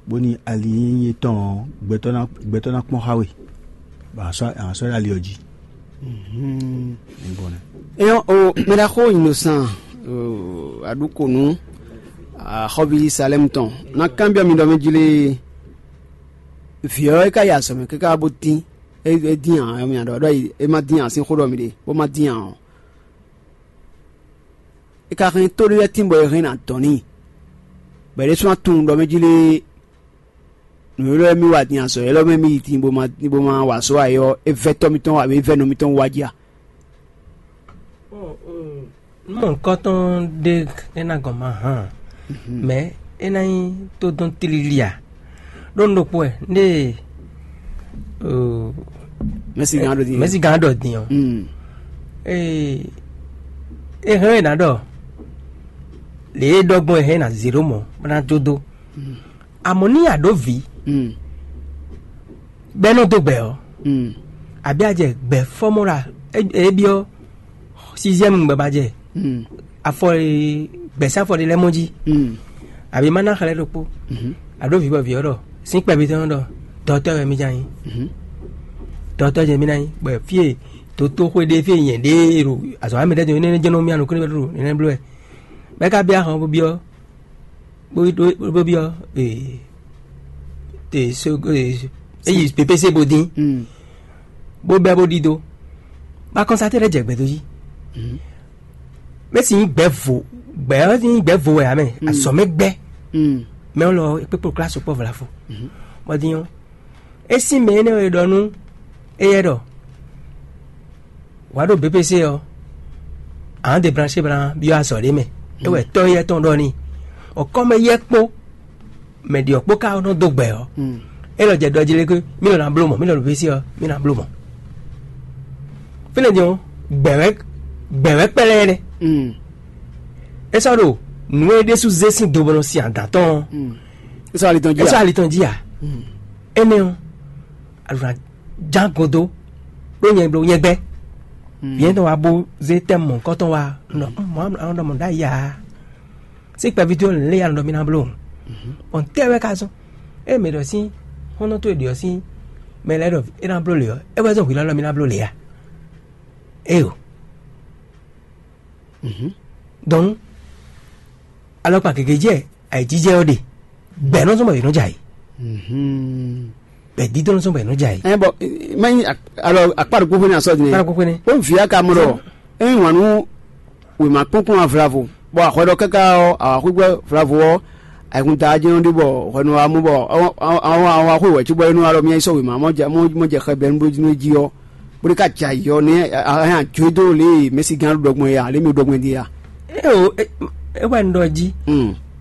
bónú ali nyínyí tɔn ɔ́, gbɛtɔ́ ná gbɛtɔ́ ná kpɔ́n xá we, bɔ a sɔ́ a sɔ́ ɖo ali ɔ́ jí. Ní gbɔn nɛ́. Eyɔn o mɛɖaxó Innocent, aɖukonu axɔ́ví Salɛ́mu tɔn, ná kanbyɔ́ mi ɖɔ mɛ jlé vǐ ɔ́ é ka yi azɔ̌ mɛ káká bó dín, é é dín ǎ, mia ɖɔ ɖɔ é má dín ǎ sín xó ɖɔ mi ɖe, bó má dín ǎ ɔ́, é ka hɛn tóɖéɖɛ́tín bɔ è hɛn nǎ dɔn n'i, bɔ é ɖésú ná tunwun ɖɔ mɛ jlé nǔ élɔ́ e mì wa din azɔ̌ élɔ́ mɛ mì yi din bó ma bó ma wa azɔ̌ ǎ é ɔ́, é vɛ́ tɔ́ mitɔn abǐ é vɛ́ nɔ mitɔn wú wá jí a? Nú mɔ nukɔntɔn ɖé é ná gɔn ma hán, mɛ é ná nyí tó dɔn tlílí a? Ɖó un ɖokpó wɛ, ndé mɛsi gán ɖo din mɛsi gán ɖɔ din ɔ́, Mm. ee, é hɛn é ná ɖɔ lě e ɖɔ gbɔn é hɛn é ná zé ɖó mɔ̌ bó ná dó dó. Amɔ̌ ní a ɖǒ vǐ Mm. bɛ́ nɔ dó gbɛ ɔ́, Mm. àbí a jɛ gbɛ fɔ́mɔ́ ɖo é é byɔ́ sixième gbɛ ba jɛ Mm. afɔ e gbɛ̌sá afɔ ɖé lɛ́ɛ mɔ jí, Mm. àbí má ná xlɛ́ ɖokpó. Mhm. A ɖǒ vǐ bɔ vǐ ɔ́ ɖɔ sín kpɛví tɔn ɖɔ dɔtɔ́ wɛ mì ján nyí. Mhm. Dɔtɔ́ jɛ mì ná nyí bɔ fí e dotóxwé ɖé fí e nyɛ ɖě e ɖo azɔ̌ wa mɛ ɖɛ́ dó énɛ́ jɛ́n nɔ mì anukúnmí wɛ ɖo énɛ́ bló wɛ. Bɛ́ ka byɔ́ ahɔn bó byɔ́ bó bó bó byɔ́ ee te so ee eyi pépésé bó dín Mm. bó bɛ́ bó ɖidó. Ba kɔnsaté ɖɛ́ jɛ gbɛdó jí. Mhm. Mɛ si nyí gbɛ vo gbɛ ɔ́ nyí gbɛ vo wɛ amɛ Mm. azɔ̌ mɛ gbɛ Mm. mɛ ɔ́ lɔ é kpékpé klá sukpɔ́ vlafo. Mhm. Bɔ din ɔ́, é sín mɛ énɛ́ e ɖɔ nú éyɛ́ ɖɔ wǎ ɖo B P C ɔ́, ǎ debranché blan byɔ́ azɔ̌ ɖé mɛ. É wɛ tɔ́ éyɛ́ tɔn ɖɔ n'i. Ɔ̌ kɔ́mɛ yɛ́ kpó mɛ ɖi ɔ́ kpó ka nɔ dó gbɛ ɔ́, Mm. é lɔ jɛ ɖɔ jí lé ké mí lɔ ná bló mɔ̌, mí lɔ ɖo B P C ɔ́, mí ná bló mɔ̌. Fínɛ́ din ɔ́, gbɛ̌wɛ́ gbɛ̌wɛ́ kpɛ́lɛ́ énɛ́. Mm. É sɔ́ ɖo nǔ e ɖésú zé sín do bɔ nɔ sin adǎn tɔn ɔ́, Mm. É sɔ́ ali tɔn jí é sɔ́ a? Ali tɔn jí a? Mm. Énɛ́ ɔ́, alǔ ná ján godo ɖó nyɛ bló nyɛ gbɛ́. Mm. Yɛn tɔn wá bó zé tɛ́ mɔ̌hunkɔtɔn wá nɔ mɔ̌ anɔ ɖɔ mɔ̌ ɖ'ayǐ ǎ. Sí kpɛví towe lě ya nɔ ɖɔ mì ná bló. Bɔn tɛ́ wɛ ka zɔ́n? Ée mǐ ɖɔ sín xɔ́ntɔn towe ɖě ɔ́ sín mɛ lɛ́ɛ ɖɔ é ná bló lě ɔ́, é wɛ zɔ́n hwǐ lɔ́ ɖɔ mì ná bló lě a? Éyo. Donc alɔkpa gěgé jɛ ayǐjijɛ ɔ́ ɖe, gbɛ̌ nɔ zɔn bɔ yě nɔ jɛ ayǐ, gbɛ̌ dídɔn nɔ zɔn bɔ yě nɔ jɛ ayǐ. Ɛ bɔ mɛ alɔ akpa ɖokpó xwé ní asɔ din. Akpa ɖokpó xwé ní. Ó vǐ aka mɔ ɖɔ é yí wǎn nú wěma kpɔ́nkpɔ́n avlavo, bɔ ahwɛ ɖɔ káká ɔ́, awǎxwígbɛ́ vlavo ɔ́, ayǐkúngban tají nɔ ɖe bɔ hwɛnu wá mɔ bɔ awǎxwé wɛ̌ cóbɔ é nɔ wá ɖɔ mì yi sɔ́ wěma mɔ jɛ mɔ jɛ xɛ bɛ́ nú jí ɔ́, bó ɖé ká jɛ ayǐ ɔ́, nɛ́ a hɛn ajǒ dó lě e mɛ̌sigán ɖo ɖɔ gbɔn é ǎ, lě mi ɖo ɖɔ gbɔn din é a? É o, é wɛ un ɖɔ jí.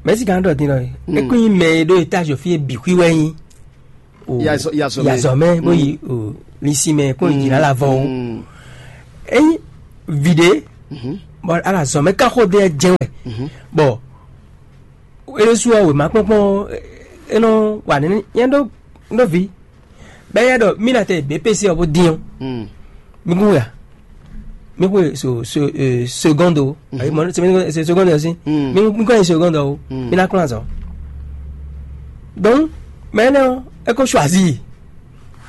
Mɛ̌sigán ɖɔ din ɖɔ é kún nyí mɛ e ɖó etázi fí e bǐ xwí wɛ nyí. O Ya zɔ- ya zɔ mɛ. Ya zɔ mɛ bó yi o lisi mɛ kó yi jìnnà la vɔ o. Eyi viɖe bɔ ala zɔ mɛ ká xó de jɛ wɛ bɔ eɖesu ɔ wema kpɔnkpɔn enɔ wa nene nyɛ ɖo ɖo vi bɛ yɛ ɖɔ mi na tɛ bɛ pese ɔ bó dín ɔ mi kún ya mi xwe so so seconde o ayi mɔ sɛ seconde ɔ si mi kún ya seconde o mi na kún azɔ. Donc mɛ énɛ́ ɔ́, é ko choisir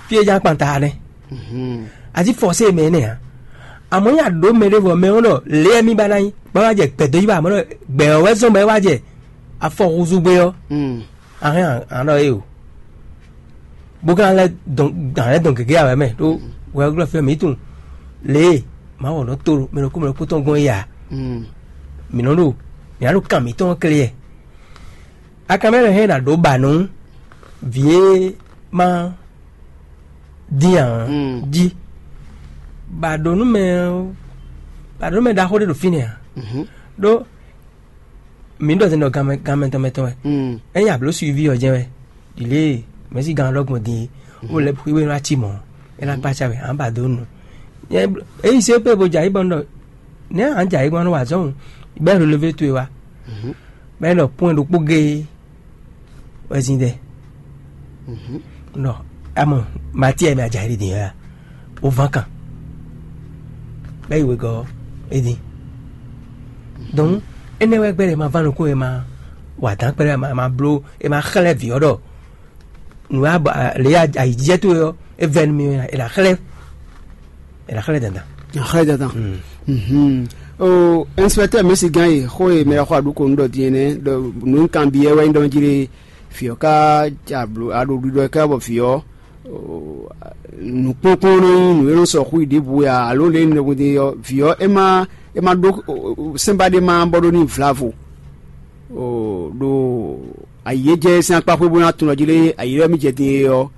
fí e ján kpan ta nɛ́. A jí forcé mɛ énɛ́ ǎ. Amɔ̌ nyi a ɖǒ mɛ ɖěvo mɛ ɔ́ ɖɔ lě e mì ba ná nyí bá wá jɛ gbɛ̌ dó yí wá amɔ̌ ɖɔ gbɛ̌ ɔ́ wɛ zɔ́n bɔ é wá jɛ afɔ húzú gbé ɔ́, a hɛn a nɔ é o. Bó ka lɛ́ dɔn a lɛ́ dɔn gěgé awɛ mɛ ɖó wɛ glɔ́ fí mǐ tunwun lě e Mawu nɔ to mɛ ɖokpó mɛ ɖokpó tɔn gɔ́n é ǎ. Mǐ nɔ ɖo mǐ ná ɖo kan mǐtɔn ɔ́ klé yɛ. Akanmɛ lɛ́ hɛn ná ɖǒ ba nú vǐ e ma dín ǎ jí. Ba ɖǒ nú mɛ ba ɖǒ nú mɛ ɖaxó ɖé ɖo fínɛ́ ǎ. Ɖó mǐ ɖɔ zɛn ɖɔ ganmɛ ganmɛ tɔn mɛ tɔn wɛ. Ényí a blǒ suivi ɔ́ jɛ́n wɛ ɖi lě e mɛ̌si gan ɔ́ ɖɔ gbɔn din é, ó lɛ́ xwíwé nú ací mɔ̌, é ná kpácá wɛ ǎ ba dó nu. Ényí se pé bo jɛ ayǐ bɔ un ɖɔ nɛ̌ ǎ jɛ ayǐ gbɔn nú wa zɔ́n bɛ́ relevé towe wá. Bɛ́ ɖɔ pɔ́n ɖokpó géé wɛ zin ɖɛ. Nɔ amɔ Matíɛ mɛ ajayi ɖi ya o van kan bɛ yi wegɔ edi. Donc énɛ́ wɛ gbɛ́ ɖe ma va nukún e ma wa dán kpɛɖɛ ma ma bló e ma xlɛ́ vǐ ɔ́ ɖɔ nǔ ya lě ayǐjijɛ towe ɔ́ é vɛ́ nú mì é ná xlɛ́ é ná xlɛ́ dandan. Axlɛ dandan. O inspecteur mɛsi gán yi xó e mɛ xɔ aɖúko nu ɖɔ din ɛnɛ ɖɔ nǔ kanbyɔ́ wɛ nyí ɖɔ jí lé. Vǐ ɔ́ ká ja blǒ aɖo ɖiɖɔ ká bɔ vǐ ɔ́ nǔkpɔ́nkpɔ́n nɔ nyí nǔ e nɔ sɔ xú yi ɖěbǔ ya alo lě e nɔ ɖe ɔ́ vǐ ɔ́ é má é má ɖó sɛ́nba ɖé má bɔ ɖó n'i vlavo. Ɖo ayi e jɛ sín akpá xwé bó ná tunɔ jí lé ayi lɛ́ɛ mì jɛ din é ɔ́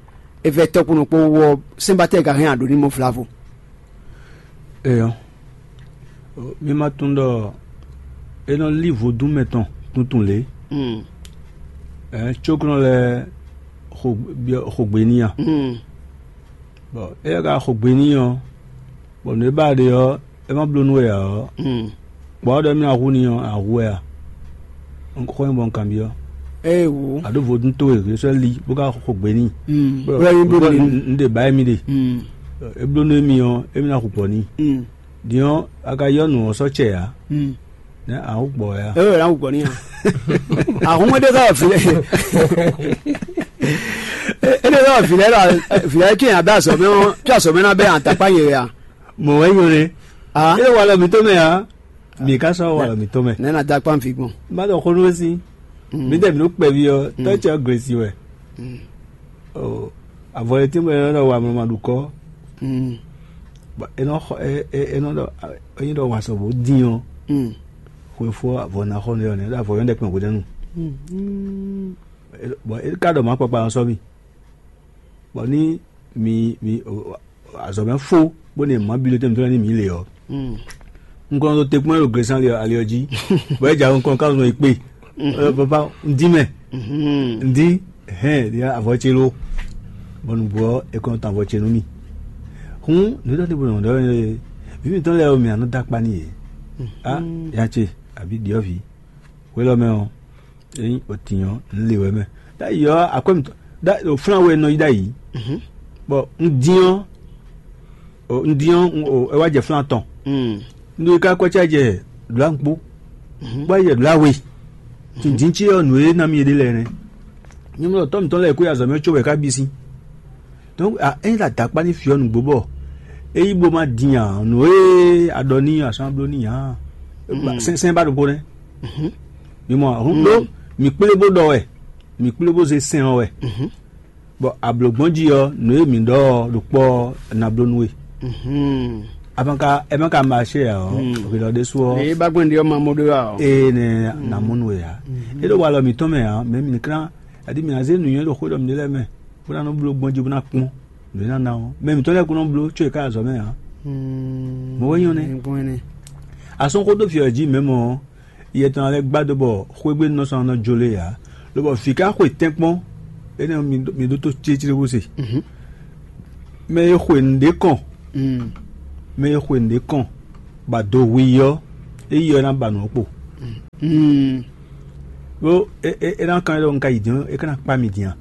é vɛ́ tɔ́kpɔ́nɔ kpó wú ɔ́ sɛ́nba tɛ́ gǎn hɛn aɖǒ ní mɔ vlavo. Eyɔ, mi ma tunwun ɖɔ é nɔ lí vodún mɛ tɔn tuntun lě. Ɛɛ cóknɔ lɛɛ xo xo gbe n'i a? Bɔ éyɛ́ ka xo gbe n'i ɔ́, bɔ nǔ e ba ɖe ɔ́, é ma bló nú we ǎ ɔ́, kpɔ̌ ɔ́ ɖɔ émí ná hu n'i ɔ́, a hu wɛ a? Xó nyí bɔ un kanbyɔ́. Ée wǔ. A ɖó vodún towe hwesɔ́ li bó ka xo gbe n'i. Bó ná nyí bló nú un ɖe ba émí ɖe. É bló nú émí ɔ́, émí ná hu gbɔ n'i. Din ɔ́, a ka yɔ nǔ ɔ́ sɔ́ cɛ ǎ. Nɛ́ a hu gbɔ wɛ a? Ée wɛ ná hu gbɔ n'i a? Ahun é ɖe ká wɔ vǐ lɛ́ɛ é ɖe ká wɔ vǐ lɛ́ɛ ɖɔ vǐ lɛ́ɛ cɛn abɛ azɔ̌ mɛ ɔ́, cɛn azɔ̌ mɛ ná bɛ atakpá nyɛ wɛ a? Mɔ̌ wɛ nyɔ nɛ́. Ah. É ɖo walɔ mǐtɔn mɛ ǎ. Mǐ ka sɔ́ walɔ mǐtɔn mɛ. Nɛ̌ ná dó akpá nví gbɔn? Má ɖɔ xó nú we sí. Mǐdɛɛ mǐ ɖo kpɛví ɔ́, tɔ́ ce ɔ́ glesi wɛ. Avɔ e tínbɔ é nɔ ɖɔ wa mlɔmɔ ɖukɔ. Bɔ é nɔ xɔ é é é nɔ ɖɔ é nyí ɖɔ wa sɔbɔ dín ɔ́. Xwefó avɔ ná xɔ nɛ ɔ́ nɛ́ ɖo avɔ yɔ́ ɖɛkpɛ hwedɛ́nu. Bɔ é ka ɖɔ mǎ kpakpa ɔ́ sɔ́ mì. Bɔ ní mi mi azɔ̌ mɛ fó bó ne mǎ bilo tɛ́ mǐtɔn ní mǐ lě ɔ́. Un kɔn ɖo te kpɔ́n ɖo glesán ali ɔ́ jí. Bɔ é jɛ nukɔn ká nɔ yi kpé. Papa un dín mɛ. Un dín hɛn ɖi avɔ ce ló. Bɔ nǔgbó ɔ́ è kɔn tɔn avɔ ce nú mì. Hǔn nǔ tɔn ɖěbǔ nɔ ɖɔ ɛ vǐ mǐtɔn lɛ́ɛ ɔ́ mǐ nɔ dó akpa n'i yě. Á ya ce àbí ɖyɔ̌vǐ. Hwelɔ́mɛ ɔ́, ényí o tinnyɔ́, un le wɛ mɛ. Ɖ'ayǐ ɔ́, akwɛ́ mǐtɔn ɖ'ayǐ ɖo flán wɛ nɔ yi ɖ'ayǐ. Bɔ un dín ɔ́, un dín ɔ́, é wá jɛ flán tɔn. Un ɖo yi ká kɔ́ cá jɛ ɖǒ ankpó, bó wá jɛ ɖǒ awe. Tindín ce ɔ́, nǔ e ná mì é ɖe lɛ́ɛ nɛ́. Nyɛ mɔ ɖɔ tɔ́ mǐtɔn lɛ́ɛ kó yi azɔ̌ mɛ có wɛ ká bí sín. Donc ényí la dǎkpá ní fyɔ́ nǔgbó bɔ é yí bó má din ǎ, nǔ e a ɖɔ n'i ɔ́, a sɔ́ ná bló n'i ǎ. sɛnsɛn ba ɖokpó nɛ́. Mi mɔ ahun ɖó mi kplé bó ɖɔ wɛ, mi kplé bó zé sɛn ɔ́ wɛ. Bɔ ablǒgbɔ́n jí ɔ́, nǔ e mǐ ɖɔ ɔ́ ɖokpɔ́ ɔ́, ná bló nú we. A ma ka ɛ ma ka ma ṣe ǎ ɔ́, hwelɔ ɖésú ɔ́, Ě ba gbɔn ɖi ɔ́ ma mɔ ɖó ǎ ɔ́. Ée nɛ ná mɔ nú we ǎ. É ɖo walɔ mǐtɔn mɛ ǎ, mɛ mi klán, aɖi mǐ ná zé nǔnywɛ́ ɖo xwé ɖɔ mǐ ɖe lɛ́ɛ mɛ, bó ná nɔ bló gbɔn jí bó ná kpɔ́n nǔ e ná ná ɔ́. Mɛ mǐtɔn lɛ́ɛ kún nɔ bló có yě ká azɔ̌ mɛ ǎ. Mɔ̌ wɛ nyɔ́ nɛ́. Asɔ́n xó dó fi ɔ́ jí mɛ̌ mɔ ɔ́, yɛ tɔn lɛ́ɛ gbá dó bɔ xwé gbe nɔ sɔ́ nɔ jó lé ǎ, lobɔ vǐ ka xwe tɛ́nkpɔ́n, énɛ́ ɔ́, mi ɖó- mi ɖótó céclé bó se. Mɛ e xwe nǔɖé kɔn, mɛ e xwe nǔɖé kɔn, bɔ ado hu i ɔ́, é yi ɔ́ ná ba nǔ ɔ́ kpo. Ɖó é é é ná kan ɖɔ un ka yi din ɔ́, é ka ná kpá mi din a?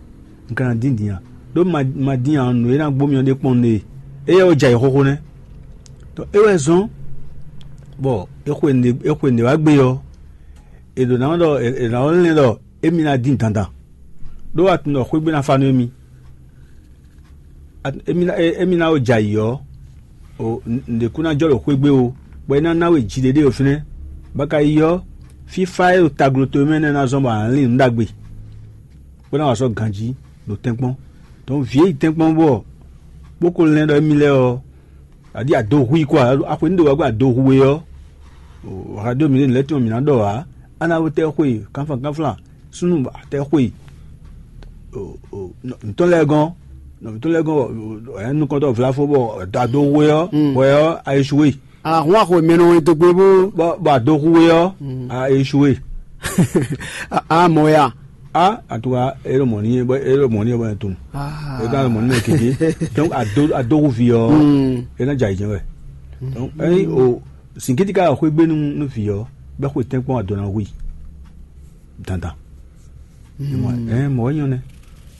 Un ka ná dín din a? Ɖó ma ma dín a ɔ́, nǔ e ná gbó mi ɔ́ ɖé kpɔ́n ɖe. Éyɛ́ wɛ jɛ ayǐ xóxó nɛ́. Tɔ é wɛ zɔ́n bɔ é xwe nǔɖé é xwe nǔɖé wá gbé ɔ́, è ɖǒ ná ɖɔ è nǎ lɛ́n ɖɔ émí ná dín dandan, ɖó a tunwun ɖɔ xwé gbe ná fa nú émí. Émí ná émí ná ko jɛ ayǐ ɔ́, nǔɖé kún ná jɔ ɖo xwé gbe ó, bɔ é ná ná we jiɖéɖé ɖo fínɛ́. Bɔ a ka yi ɔ́, fífá e ɖo taglo towe mɛ nɛ́ ná zɔ́n bɔ a nǎ lin nǔ ɖagbe, bó ná wa sɔ́ ganjí ɖo tɛ́nkpɔ́n. Dɔ̌n vǐ e yi tɛ́nkpɔ́n bɔ bó ko lɛ́n ɖɔ émí lɛ́ɛ ɔ́, aɖí ado hu i kɔ a? Axwe ní ɖe wá gbɔn ado hu we ɔ́, wǎ ɖó mǐ ɖe nǔ lɛ́ɛ tɔn mǐ ná ɖɔ ǎ. Á ná wetɛ́ xwe kánflán kánflán súnnu atɛ́ xwe nɔmǐtɔn lɛ́ɛ gɔ́n, nɔmǐtɔn lɛ́ɛ gɔ́n, ɛ nukɔntɔ́ vlafo bɔ ado hu we ɔ́, hwɛ ɔ́ a échoué. Ahun axwe mɛ nɔ wɛn dogbe bó. Bɔ bɔ ado hu we ɔ́, a échoué. A mɔ ya. A en tout cas, e ɖo mɔ̌ n'i bɔ e ɖo mɔ̌ n'i bɔ e tunwun. E ka ɖo mɔ̌ n'i mɛ kéké. Donc ado ado hu vǐ ɔ́, e ná jɛ ayǐjɛ́n wɛ. Donc ényí o sìnkíti ka xwé gbe nú nú vǐ ɔ́, bɛ́ xwe tɛ́nkpɔ́n ado ná hu i dandan. Ɛ mɔ̌ wɛ nyɔ́ nɛ́.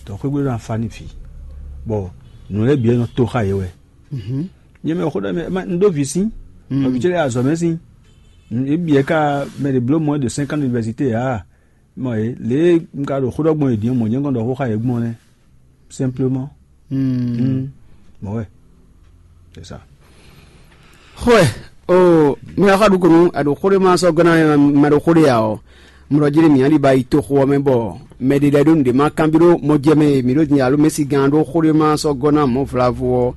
Donc xwé gbe ɖo ná fa n'i vǐ. Bɔ nǔ lɛ́ɛ bǐ wɛ nɔ to xá yě wɛ. Nyɛ mɛ xó ɖɔ mɛ un ɖó vǐ sín, vǐ ce lɛ́ɛ azɔ̌ mɛ sín. Yě bǐ wɛ ka mɛ ɖě bló mɔ̌ ɖo cinq ans d'université ǎ. Mɔ é lě e un ka ɖo xó ɖɔ gbɔn è din ɔ́, mɔ̌ jɛ́n kɔn ɖɔ xó xá yě gbɔn nɛ́. Simplement. Mɔ̌ wɛ. C'est ça. Xwɛ, o mi wá xɔ ɖukunu aɖo xó ɖé ma sɔ́ gɔ́ ná mɛ ɖo xó ɖé ǎ ɔ́, mlɔ jí ɖé mǐ ali ba yi toxo ɔ́ mɛ bɔ mɛ ɖé lɛ́ɛ ɖó nǔɖé ma kanbyɔ́ ɖó mɔ jɛ mɛ e mǐ ɖo din alo mɛsi gán ɖó xó ɖé ma sɔ́ gɔ́ ná mɔ̌ vlavo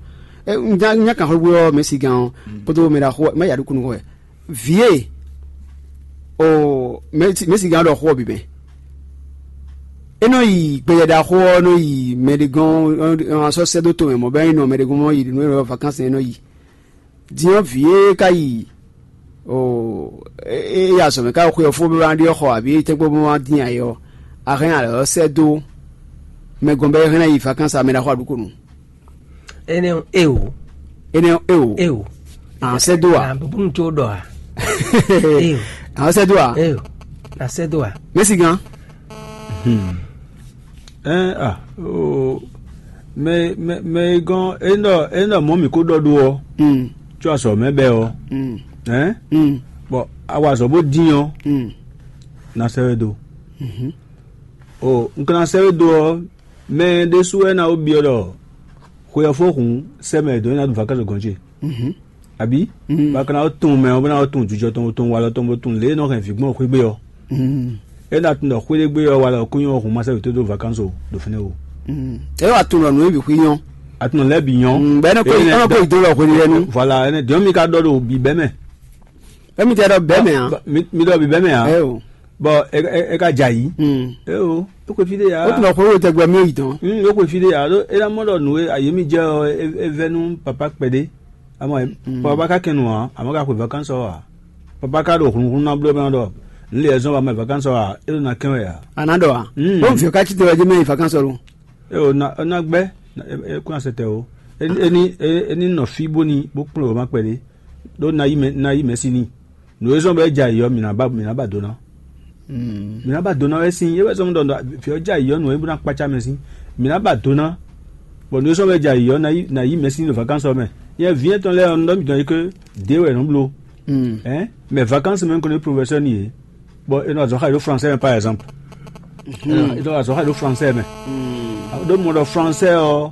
ɔ́. Nya kan xwégbé ɔ́ mɛsi gán ɔ́ kpódó mɛ ɖaxó ma ya ɖukunu xɔ wɛ. Vǐ e o mɛsi gán ɖɔ xó ɔ́ bǐ mɛ. É nɔ yi gbɛjɛ ɖaxó ɔ́ nɔ yi mɛ ɖé gɔ́n ɔ́ sɔ́ sɛ́ dó tomɛ mɔ̌ bɔ é nɔ mɛ ɖé gɔ́n mɔ yi nǔ e nɔ vacance é nɔ yi. Din ɔ́ vǐ e ka yi o é yi azɔ̌ mɛ ka xwe ɔ́ fó bó wá ɖi ɔ́ xɔ abǐ tɛ́nkpɔ́n bó wá dín ayɛ ɔ́, a hɛn alɛ ɔ́ sɛ́ dó mɛ gɔn bɔ é hɛn ná yi vacance amɛ ɖaxó aɖukonu. Énɛ́ ɔ́, é o. Énɛ́ ɔ́, é o. É o. Àwọn sɛ́ dó a? Àwọn búburú tó ɖɔ a? É o. Àwọn sɛ́ dó a? É o. Na sɛ́ dó a? Mɛ́si gán. Ɛn a o mɛ mɛ mɛ e gɔn e nɔ e nɔ mɔ mǐ ko ɖɔ ɖó ɔ́, tsɔ azɔ̌ mɛ bɛ ɔ́, ɛn bɔ a wa azɔ̌ bó dín ɔ́, na sɛ́ we dó. O un ka ná sɛ́ we dó ɔ́, mɛ ɖésú wɛ ná wó byɔ́ ɖɔ xwe ɔ́ fó hǔn sɛ́ mɛ e dǒ é ná ɖu vakázo gɔn ce. Abǐ? Bɔ a ka ná wó tunwun mɛ ɔ́ bó ná wó tunwun jijɔ tɔn bó tunwun walɔ tɔn bó tunwun lě e nɔ hɛn vǐ gbɔn xwé gbe ɔ́. É ná tunwun ɖɔ xwé ɖé gbe ɔ́ walɔ kúnyɔ ɔ́ hun masɛ wětó dó vakanso ɖo fínɛ́ o. É wá tunwun ɖɔ nǔ e bǐ xwí nyɔ́. A tunwun lɛ́ɛ bǐ nyɔ́. Bɛ́ nɔ kó Énɛ́ ɛnɔ kó dɔ́- yi dó lɔ xwé ɖé nu. Voilà, ɛnɛ dɔn mi ka ɖɔ ɖo bǐ bɛ́ mɛ. Émi tɛ ɖɔ bɛ́ mɛ ǎ. Mi mi ɖɔ bǐ bɛ́ mɛ ǎ. Ɛ o. Bɔ é é- é ka jɛ ayǐ. Mm. É o, é xwe fí ɖé ya. Ó tún lọ xwé wò tɛgbɛ mi yi tán. Mm, é xwe fí ɖé ya ɖó é ná mɔ ɖɔ nǔ e ayé mi jɛ ɔ́ é- é vɛ́ nú papa kpɛɖé. Amɔ papa ka kɛn nǔ ǎ, amɔ ka xwe vakansi ɔ́ ǎ. Papa ka ɖo hlunhlun ná bló mɛ ɖɔ nǔ lě e zɔ́n wa mɛ vakansi ɔ́ ǎ, é ɖo ná kɛn wɛ ǎ. A nǎ ɖɔ a? Mm. Ó ń fi ká cí te wɛ jẹ́ mɛ yi vakansi ɔ́ lo. É o ná ná gbɛ́ é kún asɛtɛ o. É ní é ní nɔ fí bó ní bó kplɔ́n wěma kpɛɖé. Ɖó ná yí mɛ ná yí mɛ sí n'i. Nǔ e zɔ́n bɔ é jɛ ayǐ ɔ́, mǐ ná ba mǐ ná ba do ná. Mǐ ná ba do ná wɛ sín é wɛ zɔ́n ɖɔ fí ɔ́ jɛ ayǐ ɔ́, nǔ e bó ná kpácá mɛ sín. Mǐ ná ba do ná, bɔ nǔ e zɔ́n bɔ é jɛ ayǐ ɔ́, ná yí ná yí mɛ sín ɖo vakansi ɔ́ mɛ. Nyɛ vǐ etɔn lɛ́ɛ ɔ́, un ɖɔ mǐtɔn é ké dě wɛ nǔ bló. Ɛn mɛ vakansi mɛ un ko ní profɛsɛ́ n'i é, bɔ è nɔ azɔ̌ xa yi ɖó fransɛ mɛ par exemple. È nɔ azɔ̌ xa yi ɖó fransɛ mɛ. Ɖó mɔ ɖɔ fransɛ ɔ́,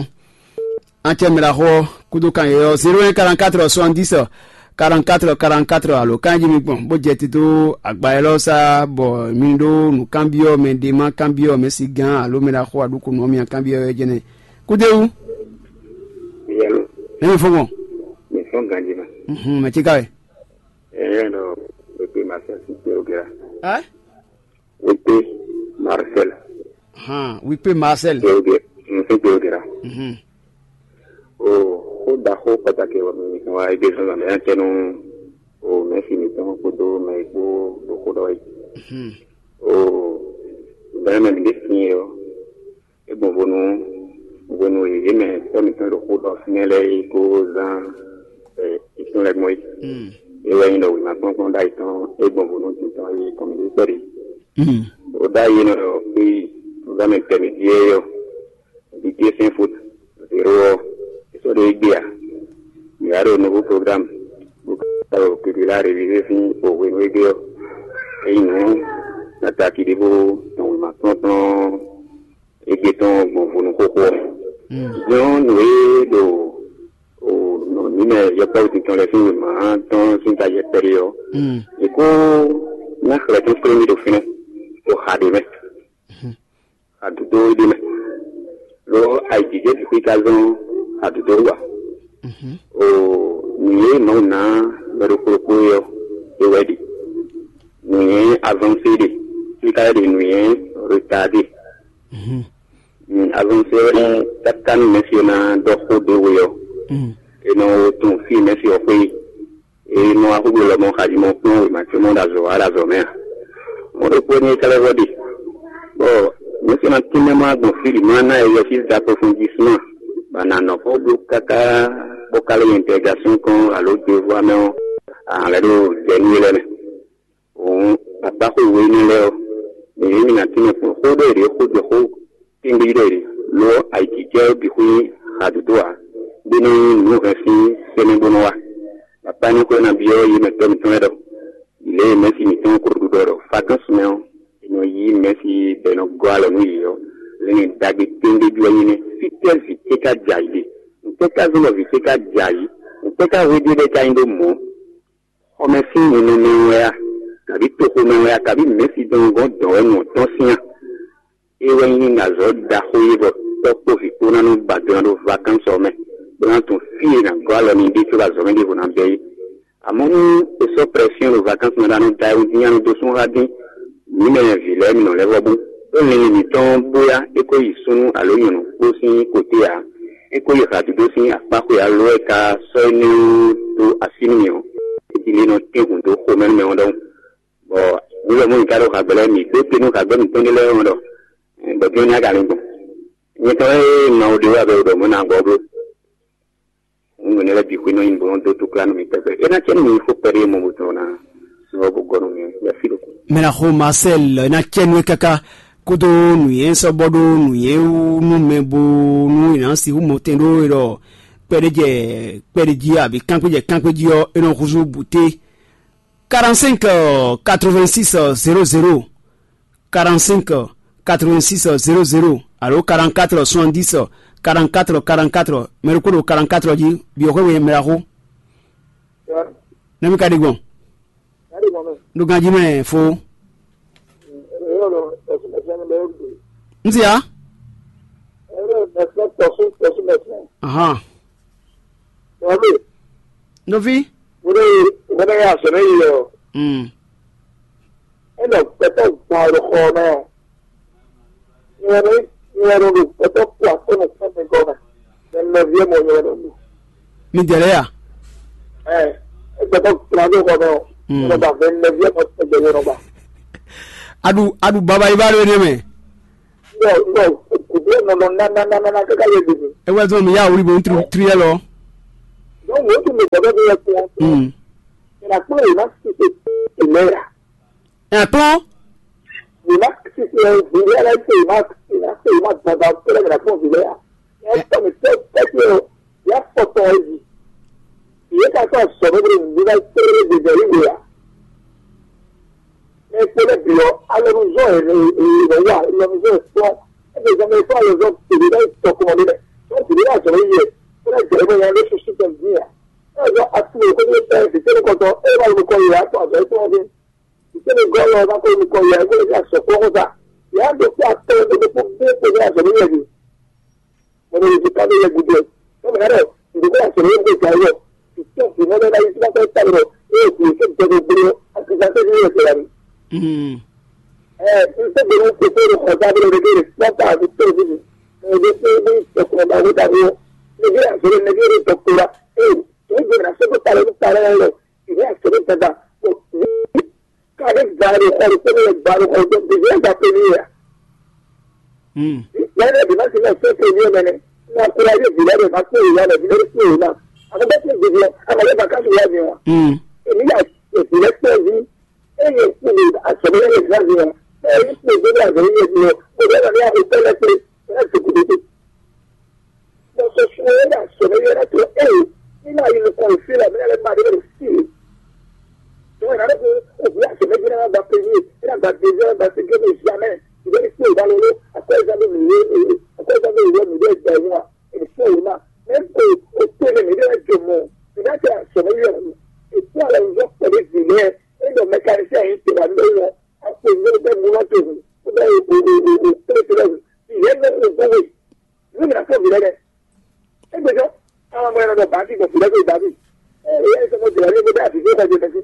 ɔ́. An cɛ mɛ ɖaxó ɔ́ kúdó kan yɛ̌yɔ́ zéro un quarante-quatre soixante-dix quarante-quatre quarante-quatre alo kan jí mi gbɔn bó jɛ tito agba élɔ́ sá bɔ mi ɖó nǔkanbyɔ́ mɛ ɖé ma kanbyɔ́ mɛ si gán alo mɛ ɖaxó aɖúkúnú ɔ́ mi kanbyɔ́ wɛ jɛnɛ. Kúdéwú. Yɛlo. Mɛ mi fɔ́n gbɔn. Mi fɔ́n ganji ma. Mhm, mɛ tí ka wɛ. Ɛɛ nɔ pépé ma sɛ sí pé o gɛra. Ɛ? Wípé Marcel. Hàn, wípé Marcel. Pé o gɛ. N fẹ́ pé o gɛra. Mhm. O xó ɖaxó pàtàkì wɔ mi wa ebe zɔn zɔn mɛ tɛnu o mɛ fi mi tɔn kpódó mɛ kpó ɖo xó ɖɔ yi. Mhm. O bɛn mɛ mi ɖe fi yɛ o. E gbɔn vo nú hwenu e yě mɛ tɔ́ mǐtɔn ɖo xó ɖɔ fínɛ́ lɛ́ɛ é ko zán ɛ itún lɛ́ɛ gbɔn é. Mm. É wɛ nyí ɖɔ wěma kplɔ́nkplɔ́n ɖ'ayǐ tɔn é gbɔn vo nú tintɔn e kɔn mǐ ɖe kpɛɖé. Mm. O ɖ'ayǐ é nɔ ɖɔ é programme intermédiaire ɔ́, ɖiɖe sín fo zéro ɔ́, é sɔ́ ɖo égbé ǎ. Mǐ wá ɖo nouveau programme bó ka ɖo kikli la révisé sín o hwenu égbé ɔ́. É nyí nǔ ataki ɖěvo tɔn wěma kplɔ́nkplɔ́n égbé tɔn gbɔn vo nú xóxó ɔ́. Din ɔ́, nǔ e ɖo nǔ mɛ yɔkpɔ́vú tɔn lɛ́ɛ sín wěma tɔn sín ta yɛ kpɛɖé ɔ́, è ko ná xlɛ̌ tɔn kplé mì ɖo fínɛ́ ɖo xa ɖé mɛ, xa dodó ɖé mɛ. Lo ayǐjijɛ bǐ xwí ka zɔ́n xa dodó wú ǎ. O nǔ e Mawu ná mɛ ɖokpó ɖokpó é ɔ́, é wɛ ɖe. Nǔ e avancé ɖe, é ka lɛ́ ɖe nǔ e retardé. Avancé ɔ́, káká nú mɛ̌si ɔ́ ná ɖɔ xó ɖé we ɔ́, è nɔ tunwun fí e mɛ̌si ɔ́ xwe é nɔ wá xógbe lɔmɔ̌ xají mɔ kplɔ́n wěma ce mɔ ɖo azɔ̌ wa ɖo azɔ̌ mɛ a? Mɔ̌ ɖokpó ní é ka lɛ́ vɔ ɖe, bɔ mɛ̌si ɔ́ ná tínmɛ má gbɔn fí ɖi má ná ɛ yɛfí d'approfondissement, bɔ a nǎ nɔ xó bló káká bó ka lɛ́ nyi dɛgasɔ́n kɔn alo devoir mɛ ɔ́, a nǎ lɛ́ ɖo jɛ nú é lɛ́ɛ mɛ. Hǔn, akpáxó we énɛ́ lɛ́ɛ ɔ́, mǐ ní mǐ ná tínmɛ kplɔ́n xó ɖɔ yě ɖě xó jɛ xó tɛ́ngbé ɖɔ yě ɖě, lo ɔ́, ayǐjijɛ ɔ́ bǐ xwé nyí hadodo ǎ, bó nɔ nyí nǔ hɛn sín sɛ́nɛ bó nɔ wá. Bɔ Panyɔ́ xwé ná byɔ́ yě mɛ tɔ́ mǐtɔn lɛ́ɛ ɖɔ lě e mɛ̌si mǐtɔn ko ɖo ɖiɖɔ ɖɔ Fakánsumɛ ɔ́, è nɔ yí mɛ̌si bɔ è nɔ gɔ́ alɔ nú yě ɔ́, lě e ɖagbe tɛ́ngbé jú wɛ nyí nɛ́. Fítɛ́ vǐ ce ka jɛ ayǐ ɖe? Ntɛ́ ka zɔ́n bɔ vǐ ce ka jɛ ayǐ? Ntɛ́ ka hwéɖé lɛ́ɛ ka nyí ɖó mɔ̌? Xɔmɛ sín ninɔmɛ wɛ a, kabǐ toxomɛ wɛ a, kabǐ mɛ̌si dɔn gɔ́n dɔ̌n wɛ nǔ ɔ́ tɔ́n sín a? É wɛ nyí azɔ̌ ɖaxó e bɔ tɔ́ kpó vǐ kpó ná nɔ ba do ná ɖo vakánsɔ ɔ́ mɛ, bó ná tunwun fí e è nǎ gɔ́ alɔ n'i ɖe cóbɔ azɔ̌ mɛ ɖěvo ná bɛ́ é. Amɔ̌ nú è sɔ́ prɛsyɔ́n ɖo vakánsɔ mɛ ɖó ná nɔ da ayihún dín nya nɔ dó sún xá dín, mǐ mɛ vǐ lɛ́ɛ mi nɔ lɛ́ vɔ bú. Ɖó linlin mǐtɔn bó yá é ko yi súnnu alo nyɔ̌nu kpó sín koté ǎ. É ko yi hǎdídó sín akpá xwe alo é ka sɔ́ énɛ́ ɔ́ dó así nú mì ɔ́, é jí lě nɔ tɛ́n hǔn dó xomɛ nú mɛ ɔ́ ɖɔhun. Bɔ nǔ lɔ mɔ̌ mi ka ɖo hagbɛ lɛ́ɛ mi dó te nú hagbɛ mǐtɔn ɖé lɛ́ɛ ɔ́ ɖɔ bɔ dín ɔ́ ní a ka lin gbɔn. Nyɛ tɔn e ma wo ɖe wá bɛ ɖɔ mɔ̌ ná gbɔ bló. Nǔ énɛ́ lɛ́ɛ bǐ xwé nɔ nyi bó nɔ́ dó túkla nú mi tɛgbɛ. É ná cɛ nú mi xó kpɛɖé mɔ bó tɔn ná sɔ bó gɔ́ nú mi lɛ́ fí ɖokpó. Mɛ ná xo Marcel ná cɛ nú ɛ káká kódó nǔnywɛ́ sɔ́ bɔ ɖó nǔnywɛ́ wú nú mɛ bó nú è nǎ sixú mɔ tɛn ɖó é ɖɔ kpɛɖé jɛ kpɛɖé jí abǐ kángbé jɛ kángbé jí ɔ́, é nɔ húzú bǔté quarante-cinq quatre-vingt-six zéro zéro. quarante-cinq quatre-vingt-six zéro zéro alo quarante-quatre soixante-dix quarante-quatre quarante-quatre, mɛ ɖokpó ɖo quarante-quatre jí, byɔ̌ xwé we mɛ ɖaxó. Nɛ́ mì ka ɖi gbɔn? Ɖo ganjí mɛ fó. Un se ya. Ahan. Nɔví. Wọ́n yà sọ̀rọ̀ yìí ọ̀. Mm. Ẹ nọ pẹpẹ gbọ́n ló kọ́ náà. Ìwọ̀n ní ìwọ̀n ní pẹpẹ kú àtọ́nù fún mi gọ́nà. Ẹ nọ bí ẹ mọ̀ ìwọ̀n ní. Mi dẹ̀rẹ́ yà. Ẹ ẹ pẹpẹ gbọ́n ló kọ́ náà. Mm. Ẹ nọ bá fẹ́ nọ bí ẹ mọ̀ tẹ̀gbẹ́ yẹn nọ bá. Adu adu baba yi ba ɖo ne mɛ. Yɔ yɔ kùdú ẹ nọ nọ nánánánánà káká yẹ gbègbè. Ewé zɔn mi yá wuli bo n tiri yɛ lɔ. Donc wọ́n tún mi gbọ́dọ̀ bí ẹ kú wọn. Mm. Ìràpọ̀ yìí má ti ṣe ìlera. Ẹ kpɔn. Yìí má ti ṣe ìlera ṣe yìí má ṣe yìí má ṣe yìí má gbàgbà kúrẹ́ ìràpọ̀ ìlera. Ẹ tọ́ mi tẹ́ tẹ́ kí o yà pọ̀tọ̀ ẹ yìí. Ìyẹn ká sọ sọ̀rọ̀ bí mi bá tẹ́lẹ̀ gbèdé yìí wò yà. Mɛ kpɛɖé byɔ́ alɔnuzɔ́ e e e wá alɔnuzɔ́ e kplɔ́n ebe zɔn mɛ fún alɔnuzɔ́ tebe ɖe tɔkɔn ɖe lɛ tɔn tebe ɖe azɔn yɛ kpɛɖé jɛ ebe yan ɖe susu tɔn din ya. Ɛzɔ atu e ko ɖe tɛ vite ne kɔtɔ e ba lu kɔ ya tɔ azɔ etɔn din. Vite ne gɔ lɔ ba ko lu kɔ ya e ko ɖe asɔ kɔn ko ta ya ɖo kpɔ atɔ ɖe ɖe kpɔ bɛ kpɔ ɖe azɔn yɛ din. Mɔdɛlizikan ɖé lɛ́ɛ gúdo ɛ. Bɔ mɛ ɖɔ nǔgbó asɔ̌ lɛ́ɛ gbé gǎn yɔ. Ìtọ́ ìmọ̀ lɛ́ɛ ná yí síná fẹ́ tán lọ. Ée kò yẹ kí gbẹdẹ gbé ọ́, àti ìgbà tẹ́lẹ̀ yóò tẹ̀lé mi. Ɛ n tẹ́ gbẹdẹ kò fẹ́ lọ kọjá bí lọ́dẹ gbé rẹ̀ pọ́n ká àti tẹ́ òbí mi. Ẹ bẹ pé ní ìtọ́kùn ọba wó dàbí ọ́. Níbi àṣírí níbi èrè tọ́kùn wa. Ẹ tó ń gbé náà sọ́kò talẹ́ ní talẹ́ lọ. Ìwé àṣírí dada. Kàdé gbàdé kọ́ni pé ní gbàdé kọ́ni pé bìbí ẹ̀ gbà pé ní yà. Yàrá ìbí má ti lọ fẹ́ pé ní ọmọ ẹni. Ní akúrẹ́ ayé ìbílẹ̀ rẹ̀ máa pé ìyá rẹ̀ bí lórí pé òun náà. Àwọn bẹ́ẹ̀ ti gbèdé ẹ̀, àwọn ọlọ́ba ká ti wá ní wọn. Èmi yà ìbílẹ̀ pẹ̀ ní. Ẹ̀yẹ kúlè àtọ̀mọ́lẹ́ yẹn gbà ní wọn. Ẹ̀yẹ kúlè gbé ní àgbẹ̀ yẹn ní wọn. Gbogbo ẹ̀rọ ní àwọn ìpẹ́lẹ̀ pé ẹ̀ ti kúlè dé. Bɔsɔ suwɛɛrɛ asɔmɛ yɛrɛ to ee nínú ayi nukɔn ìfilɛ mi lɛ ma de bɛ si. Tɔwɛ na ko òbí asɔmɛ jẹ́ náà gba pèmí ẹ̀ náà gba dèzí ẹ̀ gba segé mi jamɛ ìbéèrè sí ìdálóló akɔ̀ẹ́sà mi mi yé akɔ̀ẹ́sà mi yé mi bẹ́ẹ̀ gbà yín wa èmi fún òun náà mẹ́ kó o pé mi mi bẹ́ẹ̀ jọ mọ́ ìdá tẹ asɔmɛ yẹ wù ètò àlọ́ ìjọ pẹ̀lú ìdílé ẹ̀ ẹ̀ dọ̀ mẹkanisẹ́ yìí tẹ̀wá ní wọn àpò ìwé bẹ́ẹ̀ mú lọ́tò hù ó bẹ́ẹ̀ o o o o pé tẹ̀lé hù ìyẹn mẹ́ kó o gbówó yìí. Ní mi na fún òbí lẹ́dẹ̀. Égbèjọ́, àwọn ọmọ ẹ̀rọ bá ti gbọ̀n fìlẹ́ gbé ìgbà mi. Ẹ ẹ sọ fún ìgbà mi gbé àti gbé ìgbà mi.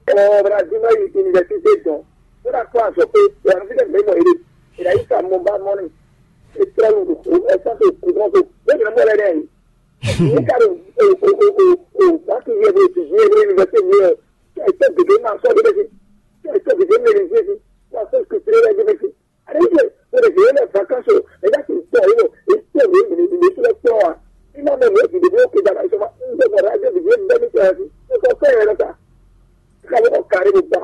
Ọmọ ọmọ náà dín náà yìí ti ní ìgbà tí ṣe dán. Ó dà kó àṣọ pé ìyàrá fífẹ́ mi mọ̀ èrè. Ìyá yìí kà mọ bá mọ́nì. Ètò ẹ̀rù kò ẹ̀sán tó kù wọ́n tó. Bẹ́ẹ̀ ni mo lẹ́dẹ̀ yìí. Ní ká ló o o o o o bá ti yẹ bó ti yẹ bó ní ìgbà tí mi yẹ. Kí ẹ tẹ́ gègé máa sọ ọ́ dé bẹ́ẹ̀ sí. Kí ẹ tẹ́ gègé mẹ́rin sí. Wọ́n á sọ ìkùsùn rẹ̀ dé bẹ́ẹ̀ sí. Àdéhùn mo lè fèrè lẹ̀ fà káṣọ ẹ̀dá kì í pọ̀ yìí lọ èyí tí èmi èmi èmi tí wọ́n pọ̀ wá nígbà mọ̀ ní èdè bí ó kéde àbáyé sọ́mà ń bẹ̀ bọ̀dá jẹ́ bìbí ẹ̀ ń bẹ́ ní sọ̀rọ̀ sí ó sọ fẹ́ yẹn lọ́ta káwé ọ̀kàrí mi gbà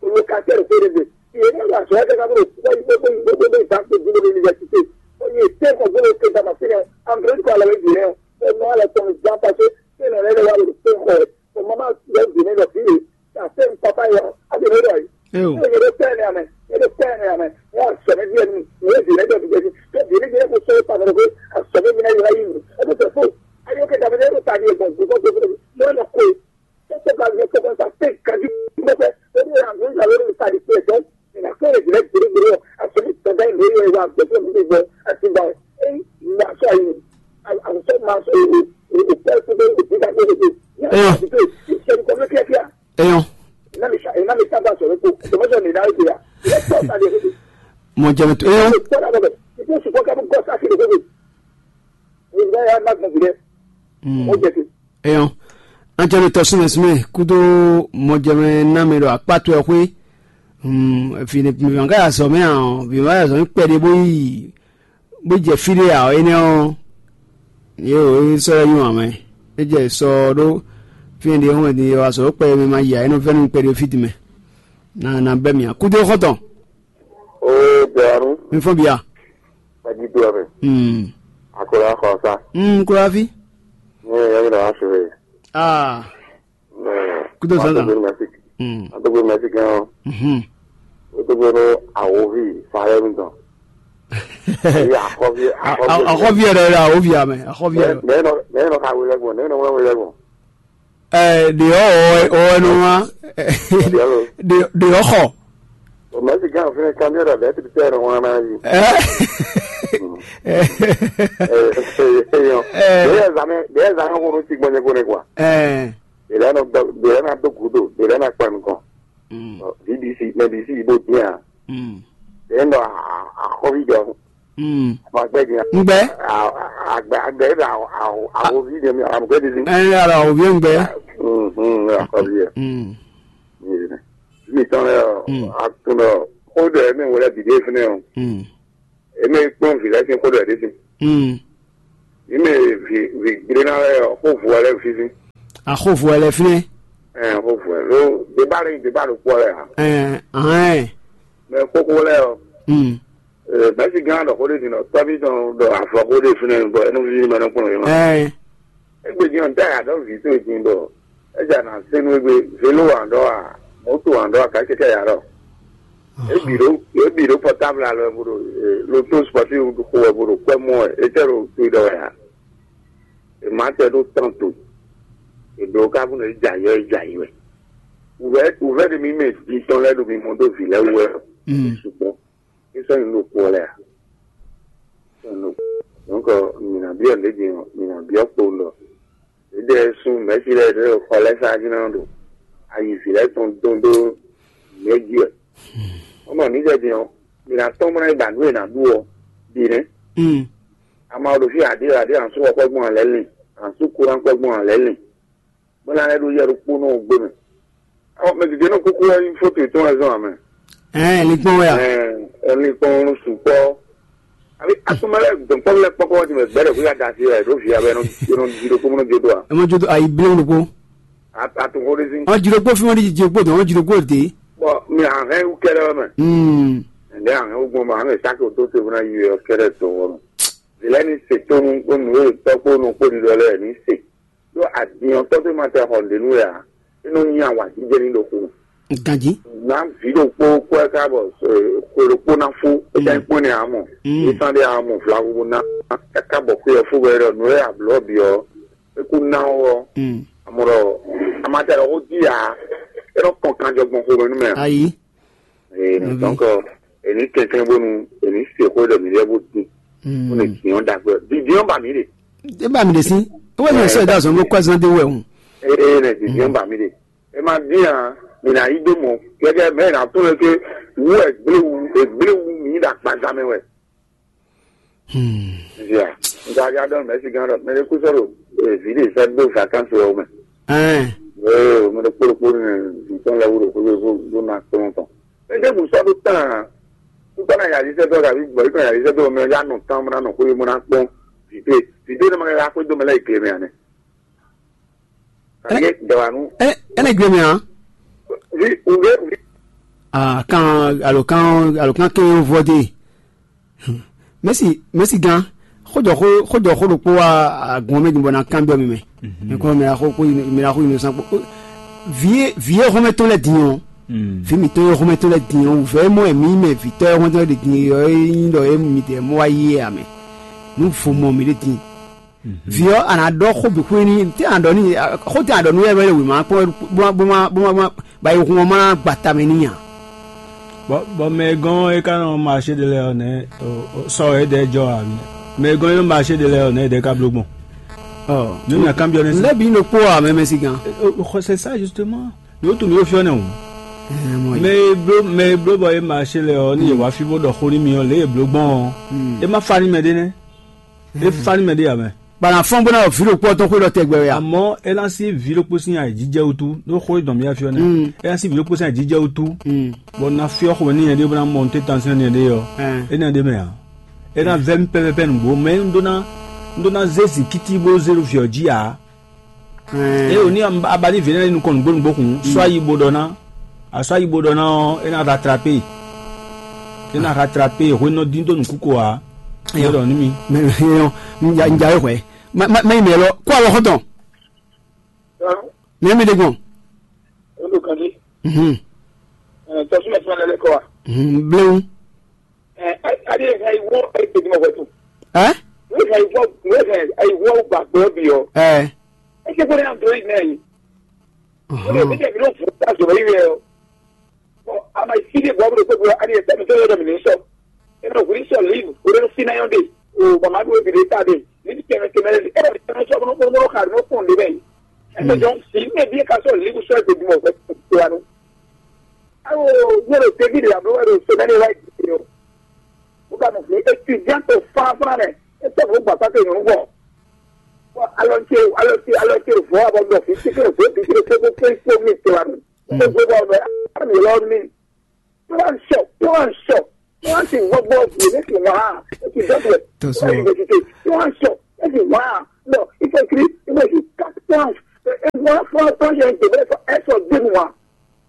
olùkàtẹ́ rẹ̀ fẹ́rẹ̀ bẹ̀ ìyẹn náà wà sọ ẹ́ kẹ́kẹ́ bó wọ́n yí gbogbo yí gbogbo bẹ́ẹ̀ ìta kó dúró ní yunifásitì ó yẹ tẹ́ ẹ̀kọ́ gbọ́dọ̀ kéde àmà fẹ́rẹ̀ àǹdọ̀rẹ́dì kọ́ àlọ́ ìdí rẹ̀ ó mọ́ àlọ́ tọ́ mi gbá pàṣẹ fẹ́rẹ̀ rẹ̀ wà lórí pé kọ́ ẹ̀ ọmọ máa yọ ìdí rẹ̀ lọ sí rẹ̀ àti papa yọ àti rẹ̀ lọ yìí. Ee o. Ní ìyẹn ló pẹ́ ní àmì, ìyẹn ló pẹ́ ní àmì, wọ́n á sọ ní díẹ̀ nínú, ìyẹn ìdílé jẹ́ ìdílé jẹ́, tó ìdílé jẹ́ kó sọ ìpàdé lọ pé àsọ̀mí mi náà yọ ayé mi. Ẹ tó tẹ̀ fún, ayé ó kẹta mi ní ẹ̀rọ tàbí ẹ̀gbọ́n gbogbo gbogbo lọ́wọ́ lọ kó e. Tó tó ka yẹ kó kọ́ta pé kájú pẹ́pẹ́, ó ní ìlànà ìgbà lórí ìpàdé pé ẹ̀tọ́, ìlànà pé ìdílé gbèrègbèrè ọ̀, àsọ̀mí tọ́jà ìlú yẹn wà gbẹ́sẹ̀ mi gbọ́, àti gbà ẹ̀ ń gbà sọ àyè, àwùjọ máa sọ èdè, èdè pẹ́ fún mi, èdè ká gbé èdè, ní àwọn àdúgbò, ìṣẹ́ni kọ́ ló kíákíá. Eyɔn. Mɔ jɛmɛ to eyɔn. Eyɔn. An jɛmɛ tɔ sumɛ sumɛ kudo mɔ jɛmɛ namɛ ɖo akpatɔ ɛ xwe. Vǐ ne vǐ ma ka ya zɔ mɛ a ɔ vǐ ma ya zɔ mɛ kpɛɖe bó yi bó jɛ fí ɖé ǎ, énɛ́ ɔ́, yě wǒ é sɔ́ lɛ́ nyi wǎn mɛ. É jɛ sɔ ɔ́ ɖó fí e ɖe ɔ́ wɛ din, è wǎ sɔ́ ɖó kpɛ e mɛ ma yi ǎ, é nɔ vɛ́ nú kpɛɖé fí din mɛ. Ná ná bɛ́ mì ǎ. Kúdó xɔ́ntɔn. Ó bɛ̀rù. Mi fɔ́n bia. Pàdídó ɔ̀rẹ́. Hmm. Àkùrọ̀ akọ̀ ọ̀sá. Hmm, kúrò àfi. Ní ẹ̀yọ́ mi lọ́wọ́ aṣọ rẹ̀. Ah. Kúdó sọ́dọ̀. Àtọ́gbé mẹ́sì. Hmm. Àtọ́gbé mẹ́sì gan-an. Mhm. Wotogbo nú awovi Salɛmi tɔn. Ayi, akɔvi, akɔvi. Akɔvi yɛ ɖɔ ɖɔ awovi amɛ, akɔvi yɛ ɖɔ. Nɛ nɔ nɛ nɔ ka wele gbɔn, nɛ nɔ wele gbɔn. Ɛ, ɖe ɔ ɔ ɔ nɔ wa. Ɖe ɖe ɔ xɔ. O mɛ si gán fún kan yɛ ɖɔ bɛ ti tɛ nɔ wa na yi. Ɛ, ɛ, ɛ, yɔ. Ɛ. Ɖe yɛ zan mɛ, ɖe yɛ zan mɛ ko nɔ ti gbɔn nyɛ ko ne kwa. Ɛ. Ɖe lɛ nɔ dɔ, ɖe lɛ na do gudo, ɖe lɛ na kpa nukɔn. Mm. Ɔ, V D C, mɛ D C bo dín a. Mm. Ɖe nɔ a, a, axɔvi jɔ. Mm. Ma gbɛ dín a. Ngbɛ? A, a, agbɛ, agbɛ ɖe a, a, a, axɔvi jɔ mi, a, gbɛ dín. Ɛ, ara axɔvi ngbɛ. Mm, mm, axɔvi yɛ. Mm. Mi tɔn lɛ ɔ, Mm. a tun lɛ ɔ, xó ɖe mi wɛlɛ bi ɖe fínɛ ɔ. Mm. Eme kpɔ́n vǐ lɛ́ɛ sín xó ɖɔ yě ɖe sín. Mm. Mǐ mɛ vǐ vǐ gblé ná lɛ́ɛ ɔ́, xó vu wɛ lɛ́ɛ fínfín. Axó vu wɛ lɛ́ɛ fínɛ́. Ɛn xó vu wɛ ló débá lɛ́ɛ nyi débá ɖokpó lɛ́ɛ ǎ. Ɛn ahɛn. Mɛ kókó lɛ́ɛ ɔ́, Mm. Mɛ̌si gán ɖɔ xó ɖé din ɖɔ tɔ́ví tɔn ɖɔ avɔ xó ɖé fínɛ́ bɔ é nɔ víví mɛ nɔ kplɔ́n yě ma. Ɛn. Égbé din ɔ́, nǔ tá yě adɔ̌ vǐ towe din bɔ é jɛ nǎ se nú égbé, vélo wǎn ɖɔ a, mɔ̌to wǎn ɖɔ a, gǎ kɛ́kɛ́ yǎ ɖɔ. Ebi ɖo ebi ɖo pɔtábl alɔ wɛ bo ɖo loto spɔti xo wɛ bo ɖo kwɛ mɔ wɛ, etɛ ɖo to ɖɔ wɛ a? Ematɛ ɖo tɔn to, eɖo ka fún ɖe jayɔ jayɔ wɛ. Wuvɛ wuvɛ ɖe mi mɛ di tɔn lɛ ɖo mi mɔ ɖo vi lɛ wɛ. Sugbɔn isɔ yin ɖo kpɔ lɛ a? Donc mi na biɔ ɖe din, mi na biɔ kpo ɖɔ. Ɖe sun mɛ̌si lɛ́ɛ ɖo xɔ lɛ́ɛ sá jí ná ɖo ayi vǐ lɛ́ɛ tɔn dɔn dó nǔ e jí wɛ. Wọ́n mɔ níjɛ din ɔ́, mi ná tɔ́n mlá ba nǔ e nǎ ɖu ɔ́ bǐ nɛ́. Ama ɖo fí aɖě aɖě ansú xɔ kpɛ́ gbɔn alɛ lin, ansú kúrán kpɛ́ gbɔn alɛ lin, bó ná lɛ́ ɖó yɛ ɖokpónɔ gbé mɛ. Ɔ mɛ gěgé nɔ kúkú wɛ nyí fóto yětɔn wɛ zɔn amɛ. Ɛɛ, linkpɔn wɛ a? Ɛɛ, linkpɔn sukpɔ. Abi asomɛ lɛ dɔnkpɔn lɛ kpɔkɔ wɛ ti mɛ gbɛdɛ kó ya da asi wɛ ɖo via wɛ nɔ nɔ di ɖokpó nɔ di ɖo a. Ɛ mɔ jo ayi blo ɖokpó. Atunko ɖe si. Ɔ ji ɖokpó fi mɔ ɖi ji ɖokpó dɔn, ɔ ji ɖokpó de. Bɔn mi ahɛn wu kɛɖɛ wɛ mɛ. Hmm. Ɛnɛ ahɛn wu gbɔn ma hɛn saki o to se funa yi wɛ kɛɖɛ to wɔ mɛ. Zilɛ ni se tonu kpó nu e tɔ kpó nu kpó ɖiɖɔ lɛ ni se. Ɖó adin ɔ́ tɔ́ tó ma tɛ xɔ nǔɖé nú wɛ ǎ, é nɔ nyi awǎjijɛ ní ɖo xo mɛ. Ganjí. Ná vǐ ɖokpó kpɔ́ ká bɔ xwe ɖokpó ná fó, é ká nyí kpɔ́n nɛ ǎ mɔ. Ísán ɖé ǎ mɔ vlavo bó ná káká bɔ xwe ɔ́ fó bɔ é ɖɔ nǔ e ablɔ̌ bǐ ɔ́, é kú ná ɔ́, amɔ ɖɔ amatɛ ɖɔ xó jí ǎ, é nɔ kpɔn kanjɔ gbɔn xomɛ nú mɛ ǎ. Ayi. Ee, donc, èmi kɛnklɛn bónú èmi se xó ɖɔ mǐ lɛ́ bó dín, bó lè dín ɔ́ ɖagbe. Dídín ɔ́ ba mǐ ɖe. É ba mǐ ɖe sín. É wɛ nyɛ sɛ da zɔn bó kɔ zan dé wɛ hùn. Ee, nɛ dídín ɔ́ ba mǐ ɖe. É ma dín a, mǐ ná yí dó mɔ. Gẹ́gẹ́ mɛ ná tún lè ké wú ɛ gbléwu, ɛ gbléwu mǐ ɖo akpaza mɛ wɛ. Via, nta ya ɖɔ mɛ si gán ɖɔ mɛ ɖé kú sɔ̀rọ̀ èzí ɖe sɛ gbó vacances wɛ mɛ. Ɛn. Ee, mɛ ɖé kpóɖó kpóɖó nɛ zǐntɔn lɛ wúɖo kó ló ló na kplɔ́n tɔn. Mɛ ɖé mú sɔ́ ɖó tán. Kúkọ́ na yàrá iṣẹ́ dɔ́ tàbí gbọ̀yì kan yàrá iṣẹ́ dɔ́ mɛ yá nɔ tán mɔ ná nɔ kó yé mɔ ná kpɔ́n. Vǐdó vǐdó ne ma ka xwé dó mɛ lɛ yi gle mɛ ane. Kàdé dɔ̀wà nú. Ɛ ɛ ne gle mɛ a? Vi ùgbé vi. Ah, kan alo kan alo kan ke vɔ de. Mɛsi mɛsi gan. Xojɔ xo xojɔ xo ɖokpó wa agun mɛ din bɔ na kan biɔ mi mɛ. Mɛ kɔ mɛ axo ko mɛ axo inu san kpo. Vie vie xɔmɛ tɔn lɛ din ɔ. Vi mi tɔn xɔmɛ tɔn lɛ din ɔ. Vɛ mɔ mi mɛ vitɔ xɔmɛ tɔn lɛ din ɔ. Yin dɔ e mi de mɔ wa yi amɛ. Nu vo mɔ mi de din. Vǐ ɔ́, a nǎ ɖɔ xó bǐ xwé n'i, tɛ́ a nǎ ɖɔ n'i, xó tɛ́ a nǎ ɖɔ nú yɛ wɛ ɖo wěma kpɔ́n bó ma bó ma bó ma bó ma ba yi hun ɔ́ ma ná gba ta mɛ n'i ǎ. Bɔ bɔ mɛ e gɔ́n é ka nɔ maṣé ɖe lɛ́ɛ ɔ́ nɛ́ sɔ é ɖɛ́ jɔ ǎ. Mɛ e gɔ́n é nɔ maṣé ɖe lɛ́ɛ ɔ́ nɛ́ é ɖɛ́ ka bló gbɔn. Ɔ Nú nya kanbyɔ́ nɛ́ sí. Lɛ́ bǐ ɖokpó ǎ mɛ mɛ sí gán. C'est ça justement. Ní ó tunwun mì ó fyɔ́ nɛ́ hǔn. Mɛ e bló mɛ e bló bɔ é maṣé lɛ́ɛ ɔ́ ní yě wá fí bó ɖɔ xó nú mì ɔ́ lě e bló gbɔn ɔ́, é má fa nú mɛ ɖé nɛ́. É fa nú mɛ ɖé ǎ mɛ. Bana fɔ́n bó ná ɖɔ vǐ ɖokpó ɔ́ tɔn xwé ɖɔ tɛgbɛ wɛ a? Amɔ̌ é ná sí vǐ ɖokpó sín ayǐjijɛ wútu, ɖó xó e dɔn mì wá fí ɔ́ nɛ́. Mm. É ná sí vǐ ɖokpó sín ayǐjijɛ wútu, Mm. bɔ un ná fyɔ́ xomɛ n'i nyɛɖée bó ná mɔ nǔtɛ́ntan sín nyɛɖée ɔ́, Ɛn. é ná ɖ'é mɛ ǎ. É ná vɛ́ mì pɛ́pɛ́pɛ́ nǔgbó, mɛ un ɖó ná un ɖó ná zé zǐngíti bó zé ɖo vǐ ɔ́ jí ǎ. Ɛn. É wǒ ní a ba ní vǐ énɛ́ nukɔn nǔgbó nǔgbó hǔn, sɔ́ ayi bó ɖɔ ná, a sɔ́ ayi bó ɖɔ ná ɔ́, é ná rattraper. É ná rattraper, hwenu ɔ́ dín dó nǔkúko ǎ. É ɖɔ nú mì. Mɛ mɛ yɔ, un ja un ja é hwɛ. Ma ma ma yi mɛ lɔ, kó awɔ xɔtɔn. Mɛ mi ɖe gbɔn. Olu kan di. Mhm. Ɛɛ, Sɔsúmɛ sɔmɛ lɛ lɛ kɔ wa. Bléwu. Ɛ, ɛ, adi ɛ hɛn iwɔ ɛ tɛ dimɔ wɛtu. Ɛ? Wɛ hɛn iwɔ, wɛ hɛn iwɔ gba gbɔ bi ɔ. Ɛ. Ɛ tɛ ko ne android nɛ yi. Wɛ ne bi tɛ bi no fu ta zɔrɔ yi wɛ ɔ. Bon, ama si de bɔ bro ko bro adi ɛ tɛ mi to yɔ dɔ mi ni sɔ. E no wuli sɔ live, o de no fina yɔ de. O mama do bi de ta de. Ni bi tɛmɛ tɛmɛ de. E bi tɛmɛ sɔ no no no ka no fun de bɛ. Ɛ tɛ jɔn si ne bi ka sɔ live sɔ ɛ tɛ dimɔ wɛtu wa no. Awo, yóò ɖo David ɖo abló wɛ ɖo semaine wá yi o. Mo ka mɔ fli étudiante fánfán mɛ, étɔ mo gba pàtó nyɔnu bɔ. Bɔ alɔ ce alɔ ce alɔ ce vɔ abɔ nɔ fi tike vɔ bi tike tike tike tike mi to anu. Ko gbé bɔ mɛ ami lɔ mi. Plan sɔ, plan sɔ, plan si gbɔgbɔ bi ne si wá. Eti dɔ tɛ. Tɔsɔ. Université, plan sɔ, eti wá. Non, il faut écrire, il faut écrire quatre plans. Et moi, franchement, j'ai un degré, faut être de moi.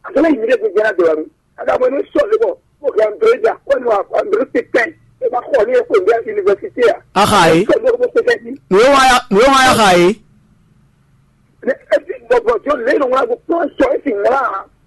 Àtúntò yìí lè gbèjì náà dọ̀rọ̀ mi. Àdàbọ̀ ní sọ̀rọ̀ bọ̀, ó kì í André jà, ó ní wà André ti pẹ́, ẹ bá kọ̀ ní ẹ̀kọ́ ìgbà yunifásitì à. Aha yìí. Sọ̀rọ̀ bọ̀ pé kẹ́kí. Nùwé wá yá, nùwé wá yá ha yìí. Ẹ ti bọ̀bọ̀ jọ lẹ́yìn wọn kò pọ́n sọ ẹ ti wọ́n á.